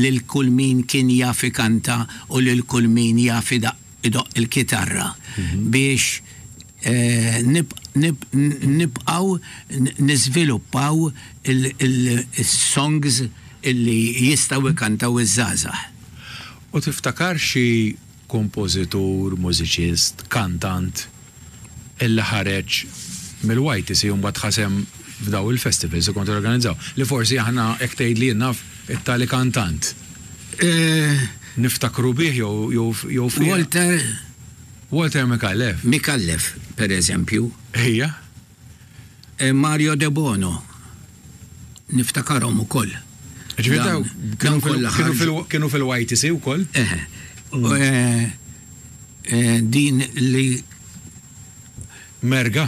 lil kull min kien jaf ikanta u lil kull min jaf idoqq il-kitarra biex nibqgħu niżviluppaw is-songs li jistgħu jkantaw iż-żgħażagħ. U tiftakar xi kompożitur, mużiċist, kantant illi ħareġ mill-YTC u mbagħad ħa sehem f'daw il-festivals li kontu torganizzaw. Li forsi aħna hekk tgħidli jien naf it-tali kantant. Niftakru bih jew jew jew fih. Walter. Walter Micallef. Micallef, per eżempju. Ejja. Mario Debono. Niftakarhom ukoll. Ġifieri daw kienu fil-YTC wkoll? Eħe. Din li. Merga?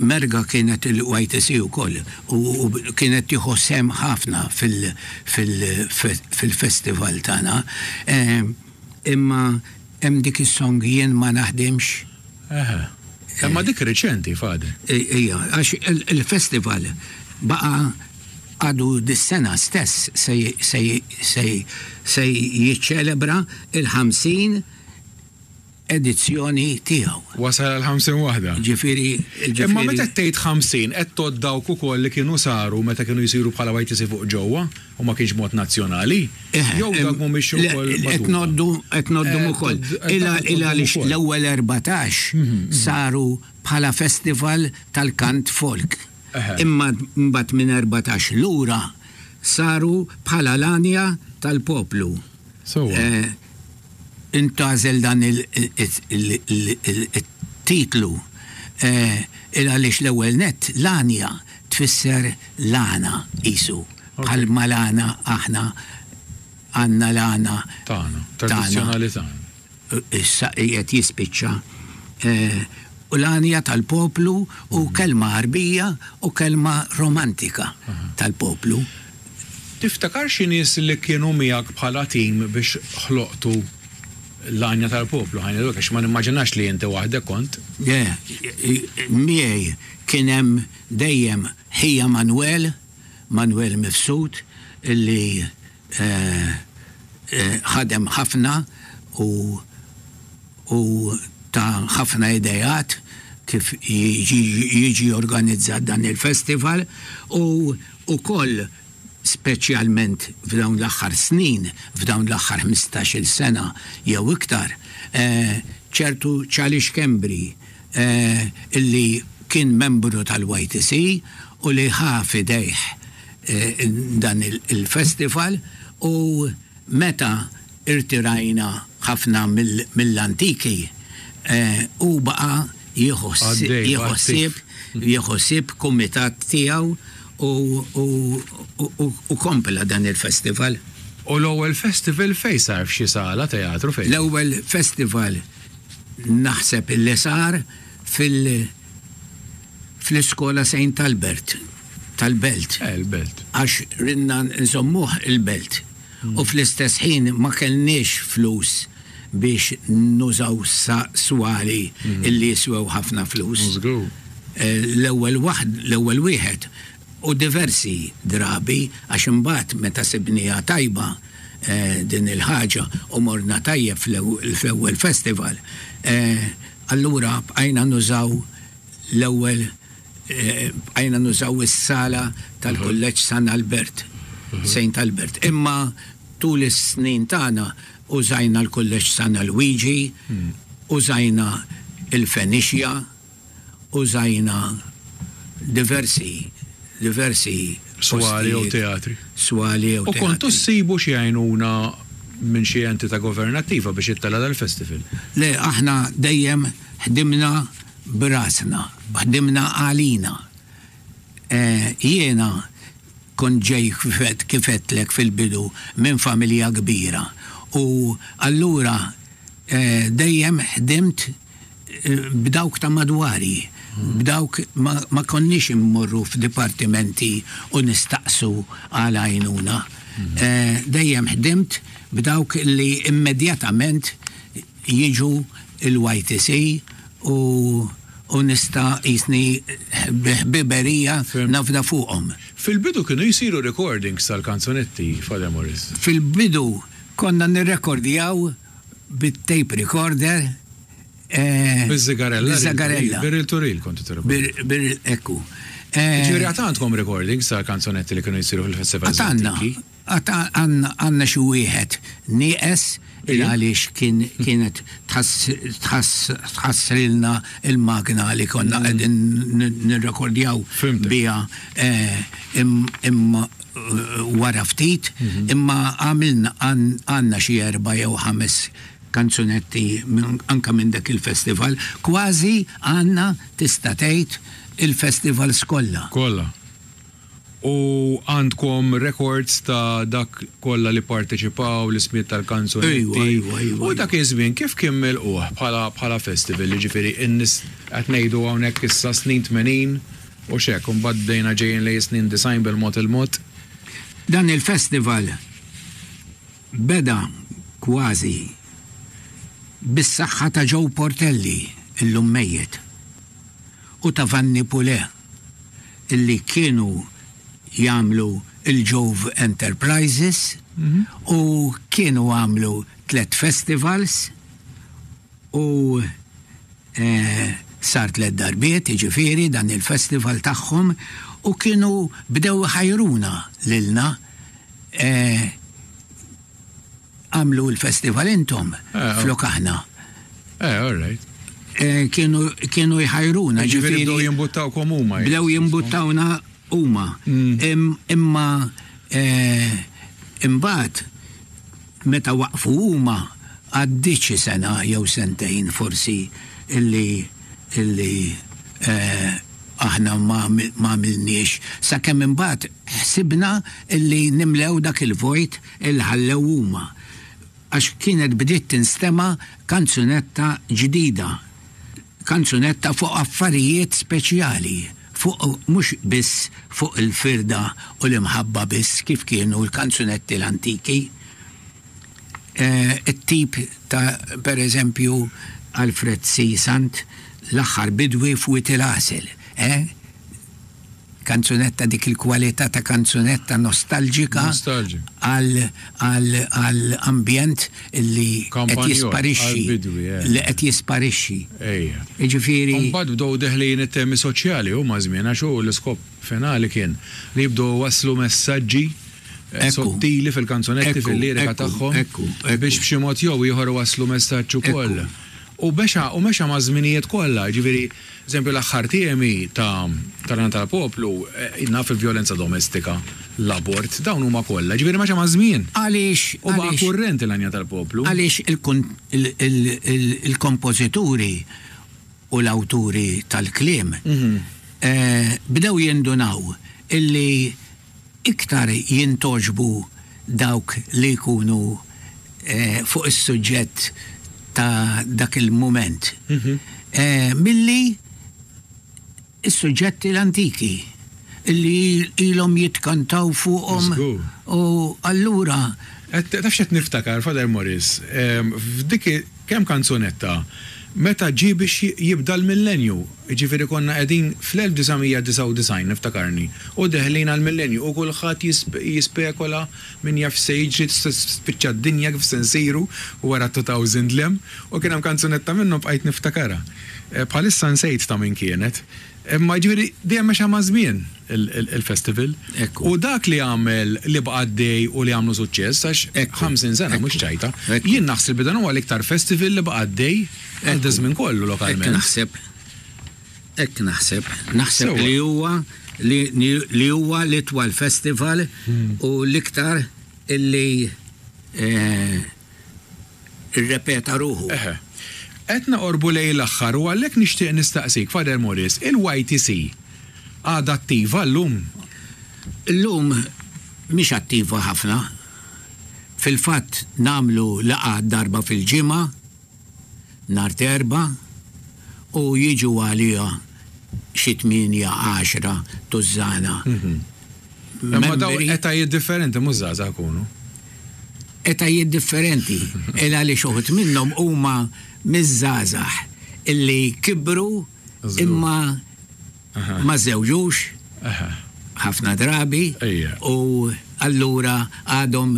Merga kienet il-YTC wkoll u kienet tieħu sehem ħafna fil-festival tagħna. Imma hemm dik is-song Jien ma naħdimx. Eħe. Imma dik riċenti, Fadi. Ija, għax il-festival baqa' għadu dis-sena stess se jiċċelebra il-50 edizzjoni tiegħu. Wasal għal 50 waħda. Ġifieri, ġifieri. Imma meta qed tgħid 50 qed tgħodd dawk ukoll li kienu saru meta kienu jsiru bħala YTC fuq ġewwa u ma kienx mod nazzjonali? Jew dawk mhumiex ukoll magħduda? Qed ngħoddu, qed ngħoddhom ukoll. Il għaliex l-ewwel 14 saru bħala festival tal-kant folk. Imma mbagħad minn 14 lura saru bħala l-għanja tal-poplu. Sewwa. Intgħażel dan it-titlu il għaliex l-ewwel nett l-għanja tfisser l-għana qisu bħalma l-għana aħna għandna l-għana tagħna, tradizzjonali tagħna. Issa qiegħed jispiċċa u l-għanja tal-poplu u kelma Għarbija u kelma romantika tal-poplu. Tiftakar xi nies li kienu miegħek bħala tim biex ħloqtu l-għanja tal-poplu, ħa ngħidu hekk, għax ma nimmaġinax li inti waħdek kont. Le, miegħi kien hemm dejjem ħija Manwel, Manwel Mifsud, illi ħadem ħafna u u ta ħafna ideat kif jiġi organizzat dan il-festival u wkoll. speċjalment f'dawn l-aħħar snin, f'dawn l-aħħar 15-il sena jew iktar, ċertu Charlie Schembri illi kien membru tal-YTC u li ħa f'idejh dan il-festival u meta irtirajna ħafna mill-antiki hu baqa' jieħu ħsieb jieħu ħsieb kumitat tiegħu u kompla dan il-festival. U l-ewwel festival fejn sar f'xi sala teatru fejn? L-ewwel festival naħseb illi sar fil fl-iskola Saint Albert tal-Belt. Eh, il-Belt. Għax ridna nżommuh il-Belt. U fl-istess ħin ma kellniex flus biex nużaw swali illi jiswew ħafna flus. Żgur. L-ewwel waħd, l-ewwel wieħed u diversi drabi għax imbagħad meta sibniha tajba din il-ħaġa u morna tajjeb fl-ewwel festival, allura bqajna nużaw l-ewwel bqajna nużaw is-sala tal-Kulleġġ San Albert, Saint Albert. Imma tul is-snin tagħna użajna l-Kulleġġ San Alwiġi, użajna il-Fenixja, użajna diversi diversi Swali jew teatri. Swali jew teatri. U kontu ssibu xi għajnuna minn xi entità governattiva biex ittella' dal-festival? Le, aħna dejjem ħdimna b'rasna, ħdimna għalina. Jiena kont ġej kif għedtlek fil-bidu minn familja kbira u allura dejjem ħdimt b'dawk ta' madwari, b'dawk ma konniex immorru f'dipartimenti u nistaqsu għal għajnuna. Dejjem ħdimt b'dawk li immedjatament jiġu l-YTC u u nista' qisni bi ħbiberija nafda fuqhom. Fil-bidu kienu jsiru recordings tal-kanzunetti, Father Maurice? Fil-bidu konna nirrekordjaw bit-tape recorder. Biż-żigarella? Biż-żigarella. Bir-reel to reel kontu tirrekordjaw? Bir, ekku. Jiġifieri għad għandkom recordings tal-kanzunetti li kienu jsiru fil-festivals antiki? Għad għandna għandna xi wieħed nieqes il għaliex kien kienet tħassrilna l-magna li konna qegħdin nirrekordjaw biha imma wara ftit imma għamilna għandna xi erba' jew ħames kanzunetti anke minn dak il-festival. Kważi għandna tista' tgħid il-festivals kollha. Kollha. U għandkom records ta' dak kollha li pparteċipaw, l-ismijiet tal-kanzunetti. Ejwa, ejwa, ejwa. U dak iż-żmien kif kien milqugħ bħala bħala festival, jiġifieri n-nies qed ngħidu hawnhekk issa snin 80 u x'hekk, u mbagħad bdejna ġejjin lejn is-snin 90 bil-mod il-mod. Dan il-festival beda kważi bis-saħħa ta' Joe Portelli, illum mejjet, u ta' Vanni Pulè. illi kienu jagħmlu il-Jove Enterprises u kienu għamlu tlet festivals u eh, sar tlet darbiet, jiġifieri dan il-festival tagħhom u kienu bdew iħajruna lilna eh, Għamlu l-festival intom eh, flok aħna. Eh, all right. Eh, kienu kienu jħajruna ġifieri bdew jimbuttawkom huma. Bdew jimbuttawna huma. Mm. Imma eh, imbagħad meta waqfu huma għaddiet xi sena jew sentejn forsi illi illi aħna ma għamilniex sakemm imbagħad ħsibna illi nimlew dak il-vojt Il ħallew huma għax kienet bdiet tinstema' kanzunetta ġdida, kanzunetta fuq affarijiet speċjali, fuq mhux biss fuq il-firda u l-imħabba biss kif kienu l-kanzunetti l-antiki. It-tip ta' per eżempju Alfred C. Sant, L-aħħar bidwi f'Wied il-Għasel, eh? Kanzunetta dik il-kwalità ta' kanzunetta nostalġika għal ambjent li qed jisparixxi. Li qed jisparixxi. Ejja. Jiġifieri. U mbagħad bdew deħlin it-temi soċjali hu maż-żmien għax hu l-iskop finali kien li jibdew iwasslu messaġġi. sottili fil-kanzunetti, fil-lirika tagħhom biex b'xi mod jew ieħor iwasslu messaġġ ukoll. U mexa u mexa maż-żminijiet kollha, jiġifieri, eżempju l-aħħar temi ta' tal-Għana tal-Poplu, naf il-vjolenza domestika, l-abort, dawn huma kollha, jiġifieri mexa maż-żmien. Għaliex U baqa' kurrenti l-Għanja tal-Poplu. Għaliex il-kompożituri u l-awturi tal-kliem bdew jindunaw illi iktar jintgħoġbu dawk li jkunu fuq is-suġġett ta' dak il-mument milli s-suġġetti l-antiki li ilhom jitkantaw fuqhom u allura. Taf x'qed niftakar, Father Maurice, f'dik kemm kanzunetta meta ġie biex jibda l-millenju, jiġifieri konna qegħdin fl-1999 niftakarni, u deħlin għall-millenju u kulħadd jispekola min jaf x'se jiġri, se tispiċċa d-dinja kif se nsiru wara 2000 l hemm, u kien hemm kanzunetta minnhom bqajt niftakarha. Bħalissa nsejt ta' min kienet. Imma jiġifieri dejjem mexa maż-żmien il-festival. U dak li għamel li baqa' għaddej u li għamlu suċċess għax 50 sena mhux ċajta. Jien naħseb li dan huwa l-iktar festival li baqa' għaddej għal daż-żmien kollu lokalment. Hekk naħseb. Hekk naħseb. Naħseb li huwa li huwa l-itwal festival u l-iktar illi irrepeta ruħu. Eħe. Qed noqorbu lejn l-aħħar u għalhekk nixtieq nistaqsik, Father Maurice, il-YTC għadha attiva llum? Illum mhix attiva ħafna. Fil-fatt nagħmlu laqgħa darba fil-ġimgħa, nhar t'Erbgħa, u jiġu għaliha xi tmienja, għaxra tużżana Imma dawn etajiet differenti mhux żgħażagħ ikunu. Etajiet differenti, il għaliex uħud minnhom huma miż-żgħażagħ illi kibru imma ma żżewġux ħafna drabi u allura għadhom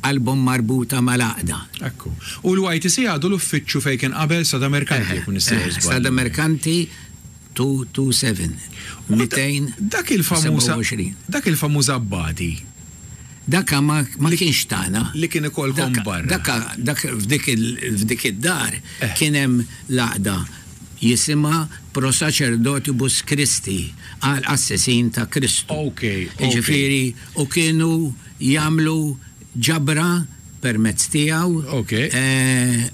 qalbhom marbuta mal-għaqda. Ekku. U l-YTC għadu l-uffiċċju fejn kien qabel Strada Merkanti, jekk m'iniex sejjer żball. Strada Merkanti 227. Dak il-famuż Dak il-famuż abbati. Daka ma kienx tagħna. Li kien ikollkom barra. Daka dak f'dik id-dar kien hemm l-għaqda jisimha Pro Sacerdotibus Christi għal qassisin ta' Kristu. Jiġifieri u kienu jagħmlu ġabra permezz tiegħu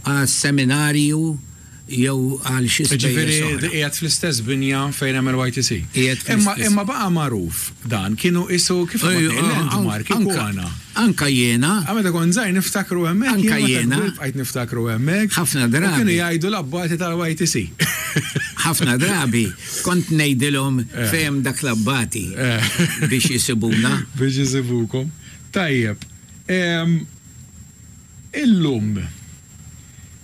għas-seminarju jew għal xi spejjeż oħra. Jiġifieri qiegħed fl-istess binja fejn hemm il-YTC. Qiegħed fl-istess. Imma baqa' magħruf dan, kienu qisu kif landmark ikona. Anka jiena. Meta kont żgħir niftakru hemmhekk. Anka jiena. Bqajt niftakru hemmhekk. Ħafna drabi. U kienu jgħidu l-abbati tal-YTC. Ħafna drabi kont ngħidilhom fejn hemm dak l-abbati biex isibuna. Biex isibukom. Tajjeb. Illum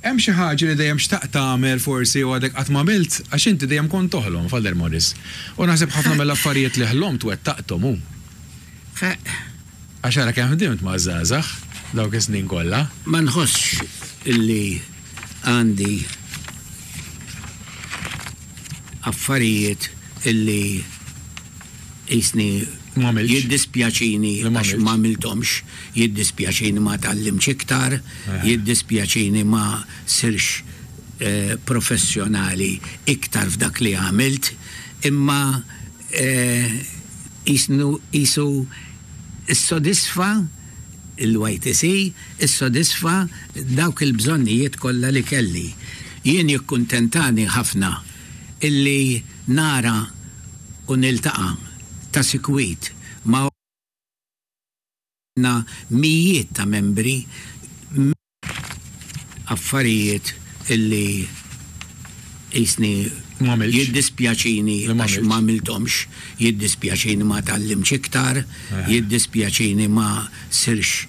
Hemm xi ħaġa li dejjem xtaqt tagħmel forsi u għadek qatt m'għamilt? Għax inti dejjem kont toħlom, Father Maurice. U naħseb ħafna mill-affarijiet li ħlomt wettaqthom, hu. Għax ara kemm ħdimt maż-żgħażagħ dawk is-snin kollha. Ma nħossx illi għandi affarijiet illi qisni jiddispjaċini għax m'għamilthomx, jiddispjaċini ma tgħallimtx iktar, jiddispjaċini ma sirx professjonali iktar f'dak li għamilt, imma qisnu qisu ssodisfa l-YTC issodisfa dawk il-bżonnijiet kollha li kelli. Jien jikkuntentani ħafna illi nara u niltaqa' ta' sikwit ma' mijiet ta' membri affarijiet illi qisni jiddispjaċini għax m'għamilthomx, jiddispjaċini ma tgħallimtx iktar, jiddispjaċini ma sirx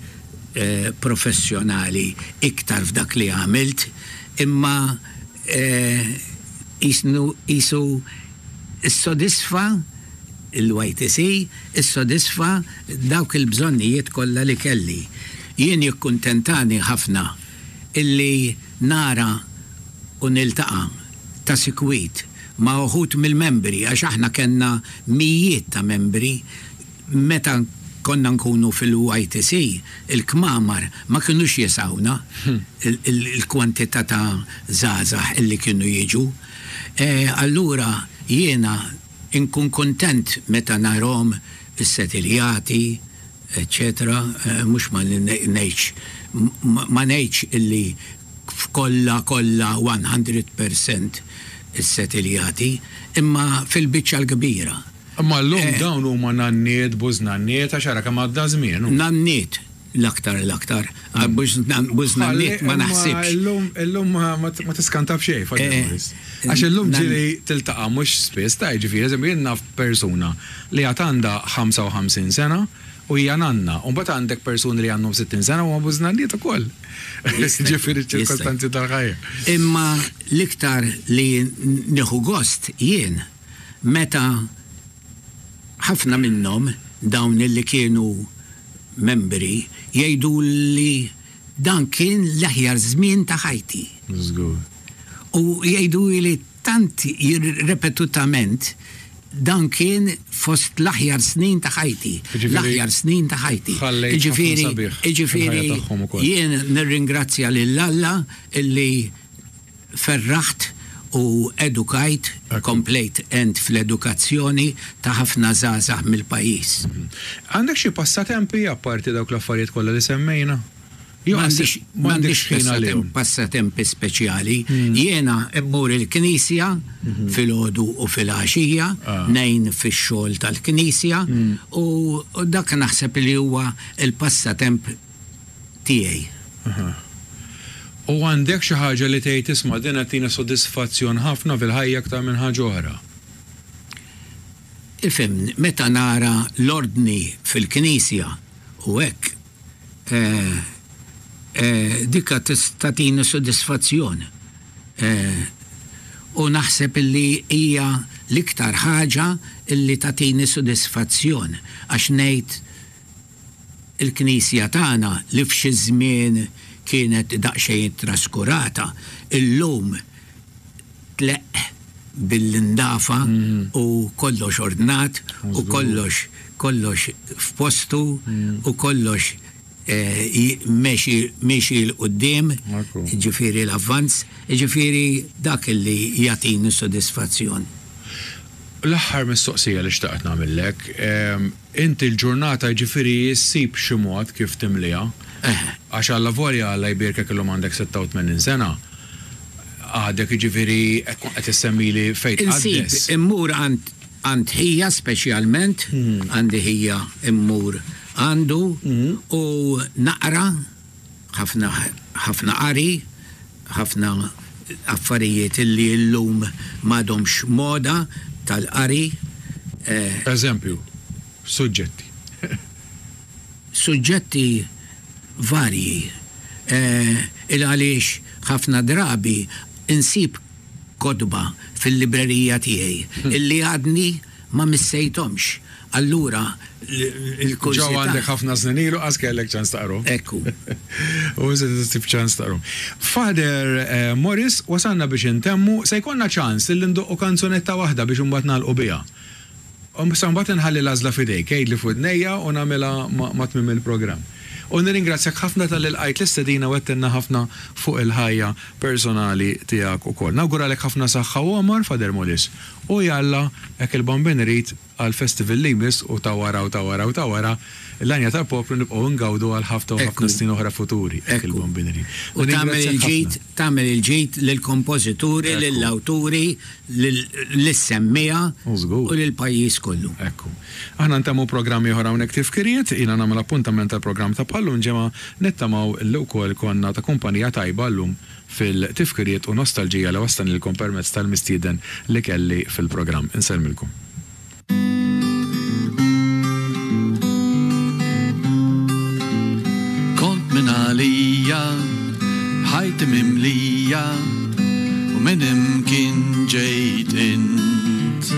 professjonali iktar f'dak li għamilt, imma qisnu qisu ssodisfa l-YTC issodisfa dawk il-bżonnijiet kollha li kelli. Jien jikkuntentani ħafna illi nara u niltaqa' ta' sikwit ma' uħud mill-membri għax aħna kellna mijiet ta' membri meta. konna nkunu fil-YTC, il-kmamar ma kinux jesgħuna il-kwantità ta' żgħażagħ illi kienu jiġu. Allura jiena nkun kuntent meta narahom issetiljati, eċċetera, mhux ma ngħidx ma ngħidx illi f'kollha kollha 100% issetiljati, imma fil-biċċa l-kbira. Imma llum dawn huma nanniet, bużnanniet, għax ara kemm għadda żmien. Nanniet l-aktar l-aktar, bużnanniet ma naħsibx. Illum illum ma tiskanta b'xejn, Father Morris. Għax illum ġieli tiltaqa' mhux spiss, ta' jiġifieri, eżempju jien naf persuna li għad għandha 55 sena u hija nanna, u mbagħad għandek persuni li għandhom 60 sena u huma bużnanniet ukoll. Jiġifieri ċ-ċirkostanzi tal-ħajja. Imma l-iktar li nieħu gost jien meta ħafna minnhom dawn li kienu membri jgħiduli dan kien l-aħjar żmien ta' ħajti. Żgur. U jgħiduli tant ripetutament dan kien fost l-aħjar snin ta' ħajti. L-aħjar snin ta' ħajti. Jiġifieri, jiġifieri jien nirringrazzja lil Alla illi ferraħt u edukajt, komplejt għent fl-edukazzjoni ta' ħafna żgħażagħ mill-pajjiż. Għandek xi passatempi apparti dawk l-affarijiet kollha li semmejna? Jew M'għandix ħin għalihom? Passatempi speċjali. Jiena mmur il-knisja filgħodu u filgħaxija, ngħin fix-xogħol tal-knisja u dak naħseb li huwa l-passatemp tiegħi. U għandek xi ħaġa li tgħid isma' din qed tini sodisfazzjon ħafna fil-ħajja aktar minn ħaġa oħra? Ifhimni, meta nara l-ordni fil-knisja u hekk, dika tagħtini sodisfazzjon. U naħseb illi hija l-iktar ħaġa illi tagħtini sodisfazzjon għax ngħid Il-Knisja tagħna li f'xi żmien kienet daqsxejn traskurata, illum tleqq bil-indafa u kollox ordnat u kollox kollox f'postu u kollox miexi miexi 'l quddiem, jiġifieri l-avvanz, jiġifieri dak li jagħtini sodisfazzjon. L-aħħar mistoqsija li xtaqt nagħmillek, Inti l-ġurnata jiġifieri ssib xi mod kif timliha. Għax allavolja Alla jbierkek illum għandek 86 sena, għadek jiġifieri qed tkun qed issemmili fejn tqaddes. Insib immur għand għand ħija speċjalment, għandi ħija immur għandu u naqra ħafna ħafna qari, ħafna affarijiet illi llum m'għadhomx moda tal-qari. Eżempju, suġġetti. Suġġetti varji. Il għaliex ħafna drabi insib kotba fil-librerija tiegħi illi għadni ma missejthomx. Allura l-kurżità. Ġew għandek ħafna snin ilu qas kellek ċans taqrahom. Ekku. U issa tista' ssib ċans taqrahom. Father Morris, wasalna biex intemmu, se jkollna ċans illi ndoqqu kanzunetta waħda biex imbagħad nagħlqu biha. Issa mbagħad inħalli l-għażla f'idejk, għidli f'widnejja u nagħmilha ma' tmiem il-programm. U nirringrazzjak ħafna talli lqajt l-istedina u għedtilna ħafna fuq il-ħajja personali tiegħek ukoll. Nawguralek ħafna saħħa u għomor, Father Morris. U jalla, hekk il-Bambin irid, għall-festival li jmiss u ta' wara u ta' wara u ta' wara, l-għanja tal-poplu nibqgħu ngawdu għal ħafna u ħafna snin oħra futuri, hekk il-Bambin irid. U tagħmel il-ġid, tagħmel il-ġid lill-kompożituri, lill-awturi, lis-semmiegħa u lill-pajjiż kollu. Ekku. Aħna ntemmu programm ieħor hawnhekk Tifkiriet, jiena nagħmel appuntament għall-programm ta' bħal-lum ġimgħa, nittamaw li wkoll konna ta' kumpanija tajba llum fil-tifkiriet u nostalġija li wassalnilkom permezz tal-mistieden li kelli fil-programm. Insellmilkom. Kont minn għalija, b'ħajti mimlija, u minn imkien ġejt int.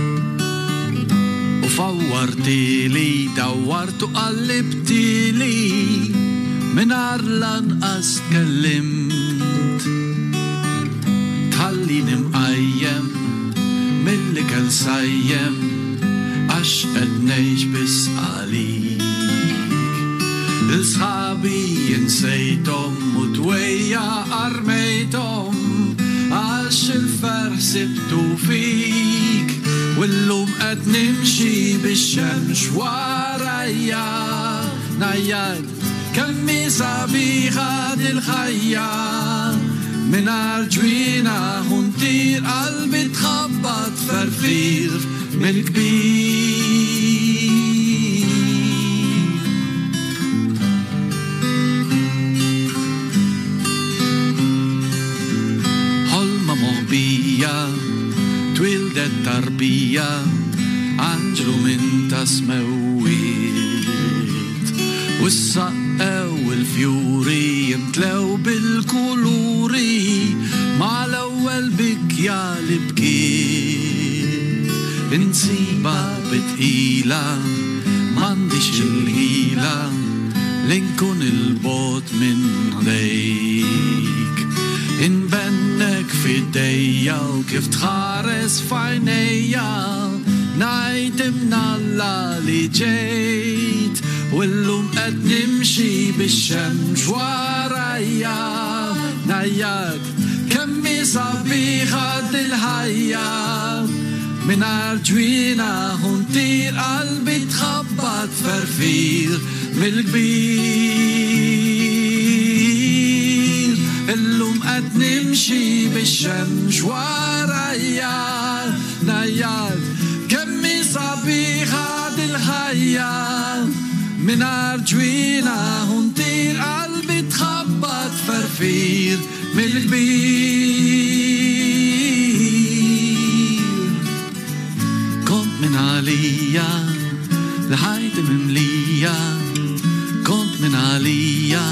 U fawwartili, dawwart u qallibtili, mingħajr lanqas tkellimt. Tħallini mqajjem mill-ikel sajjem, għax qed ngħix biss għalik. L-sħabi insejthom u dwejjaq armejthom għax il-ferħ sibtu fik. U llum qed nimxi bix-xemx warajja. Ngħajjat kemm hi sabiħa dil-ħajja. Mingħajr ġwienaħ u ntir qalbi tħabbat ferfir mill-kbir. Ħolma moħbija, twildet tarbija, anġlu minn ta' smewwiet. U ssaqqew il-fjuri jimtlew bil-kuluri mal-ewwel bikja li bkiet. Insibha bi tqila, m'għandix il-ħila li nkun 'il bogħod minn ħdejk. Inbennek f'idejja u kif tħares f'għajnejja ngħid imnalla li ġejt. U llum qed nimxi bix-xemx warajja. Ngħajjat kemm hi sabiħa dil-ħajja. Mingħajr ġwienaħ u ntir qalbi tħabbat ferfir mill-kbir. Illum qed nimxi bix-xemx warajja. Ngħajjat kemm hi sabiħa dil-ħajja. Mingħajr ġwienaħ u ntir qalbi tħabbat ferfir mill-kbir. Kont minn għalija li ħajti mimlija. Kont minn għalija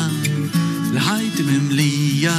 li ħajti mimlija.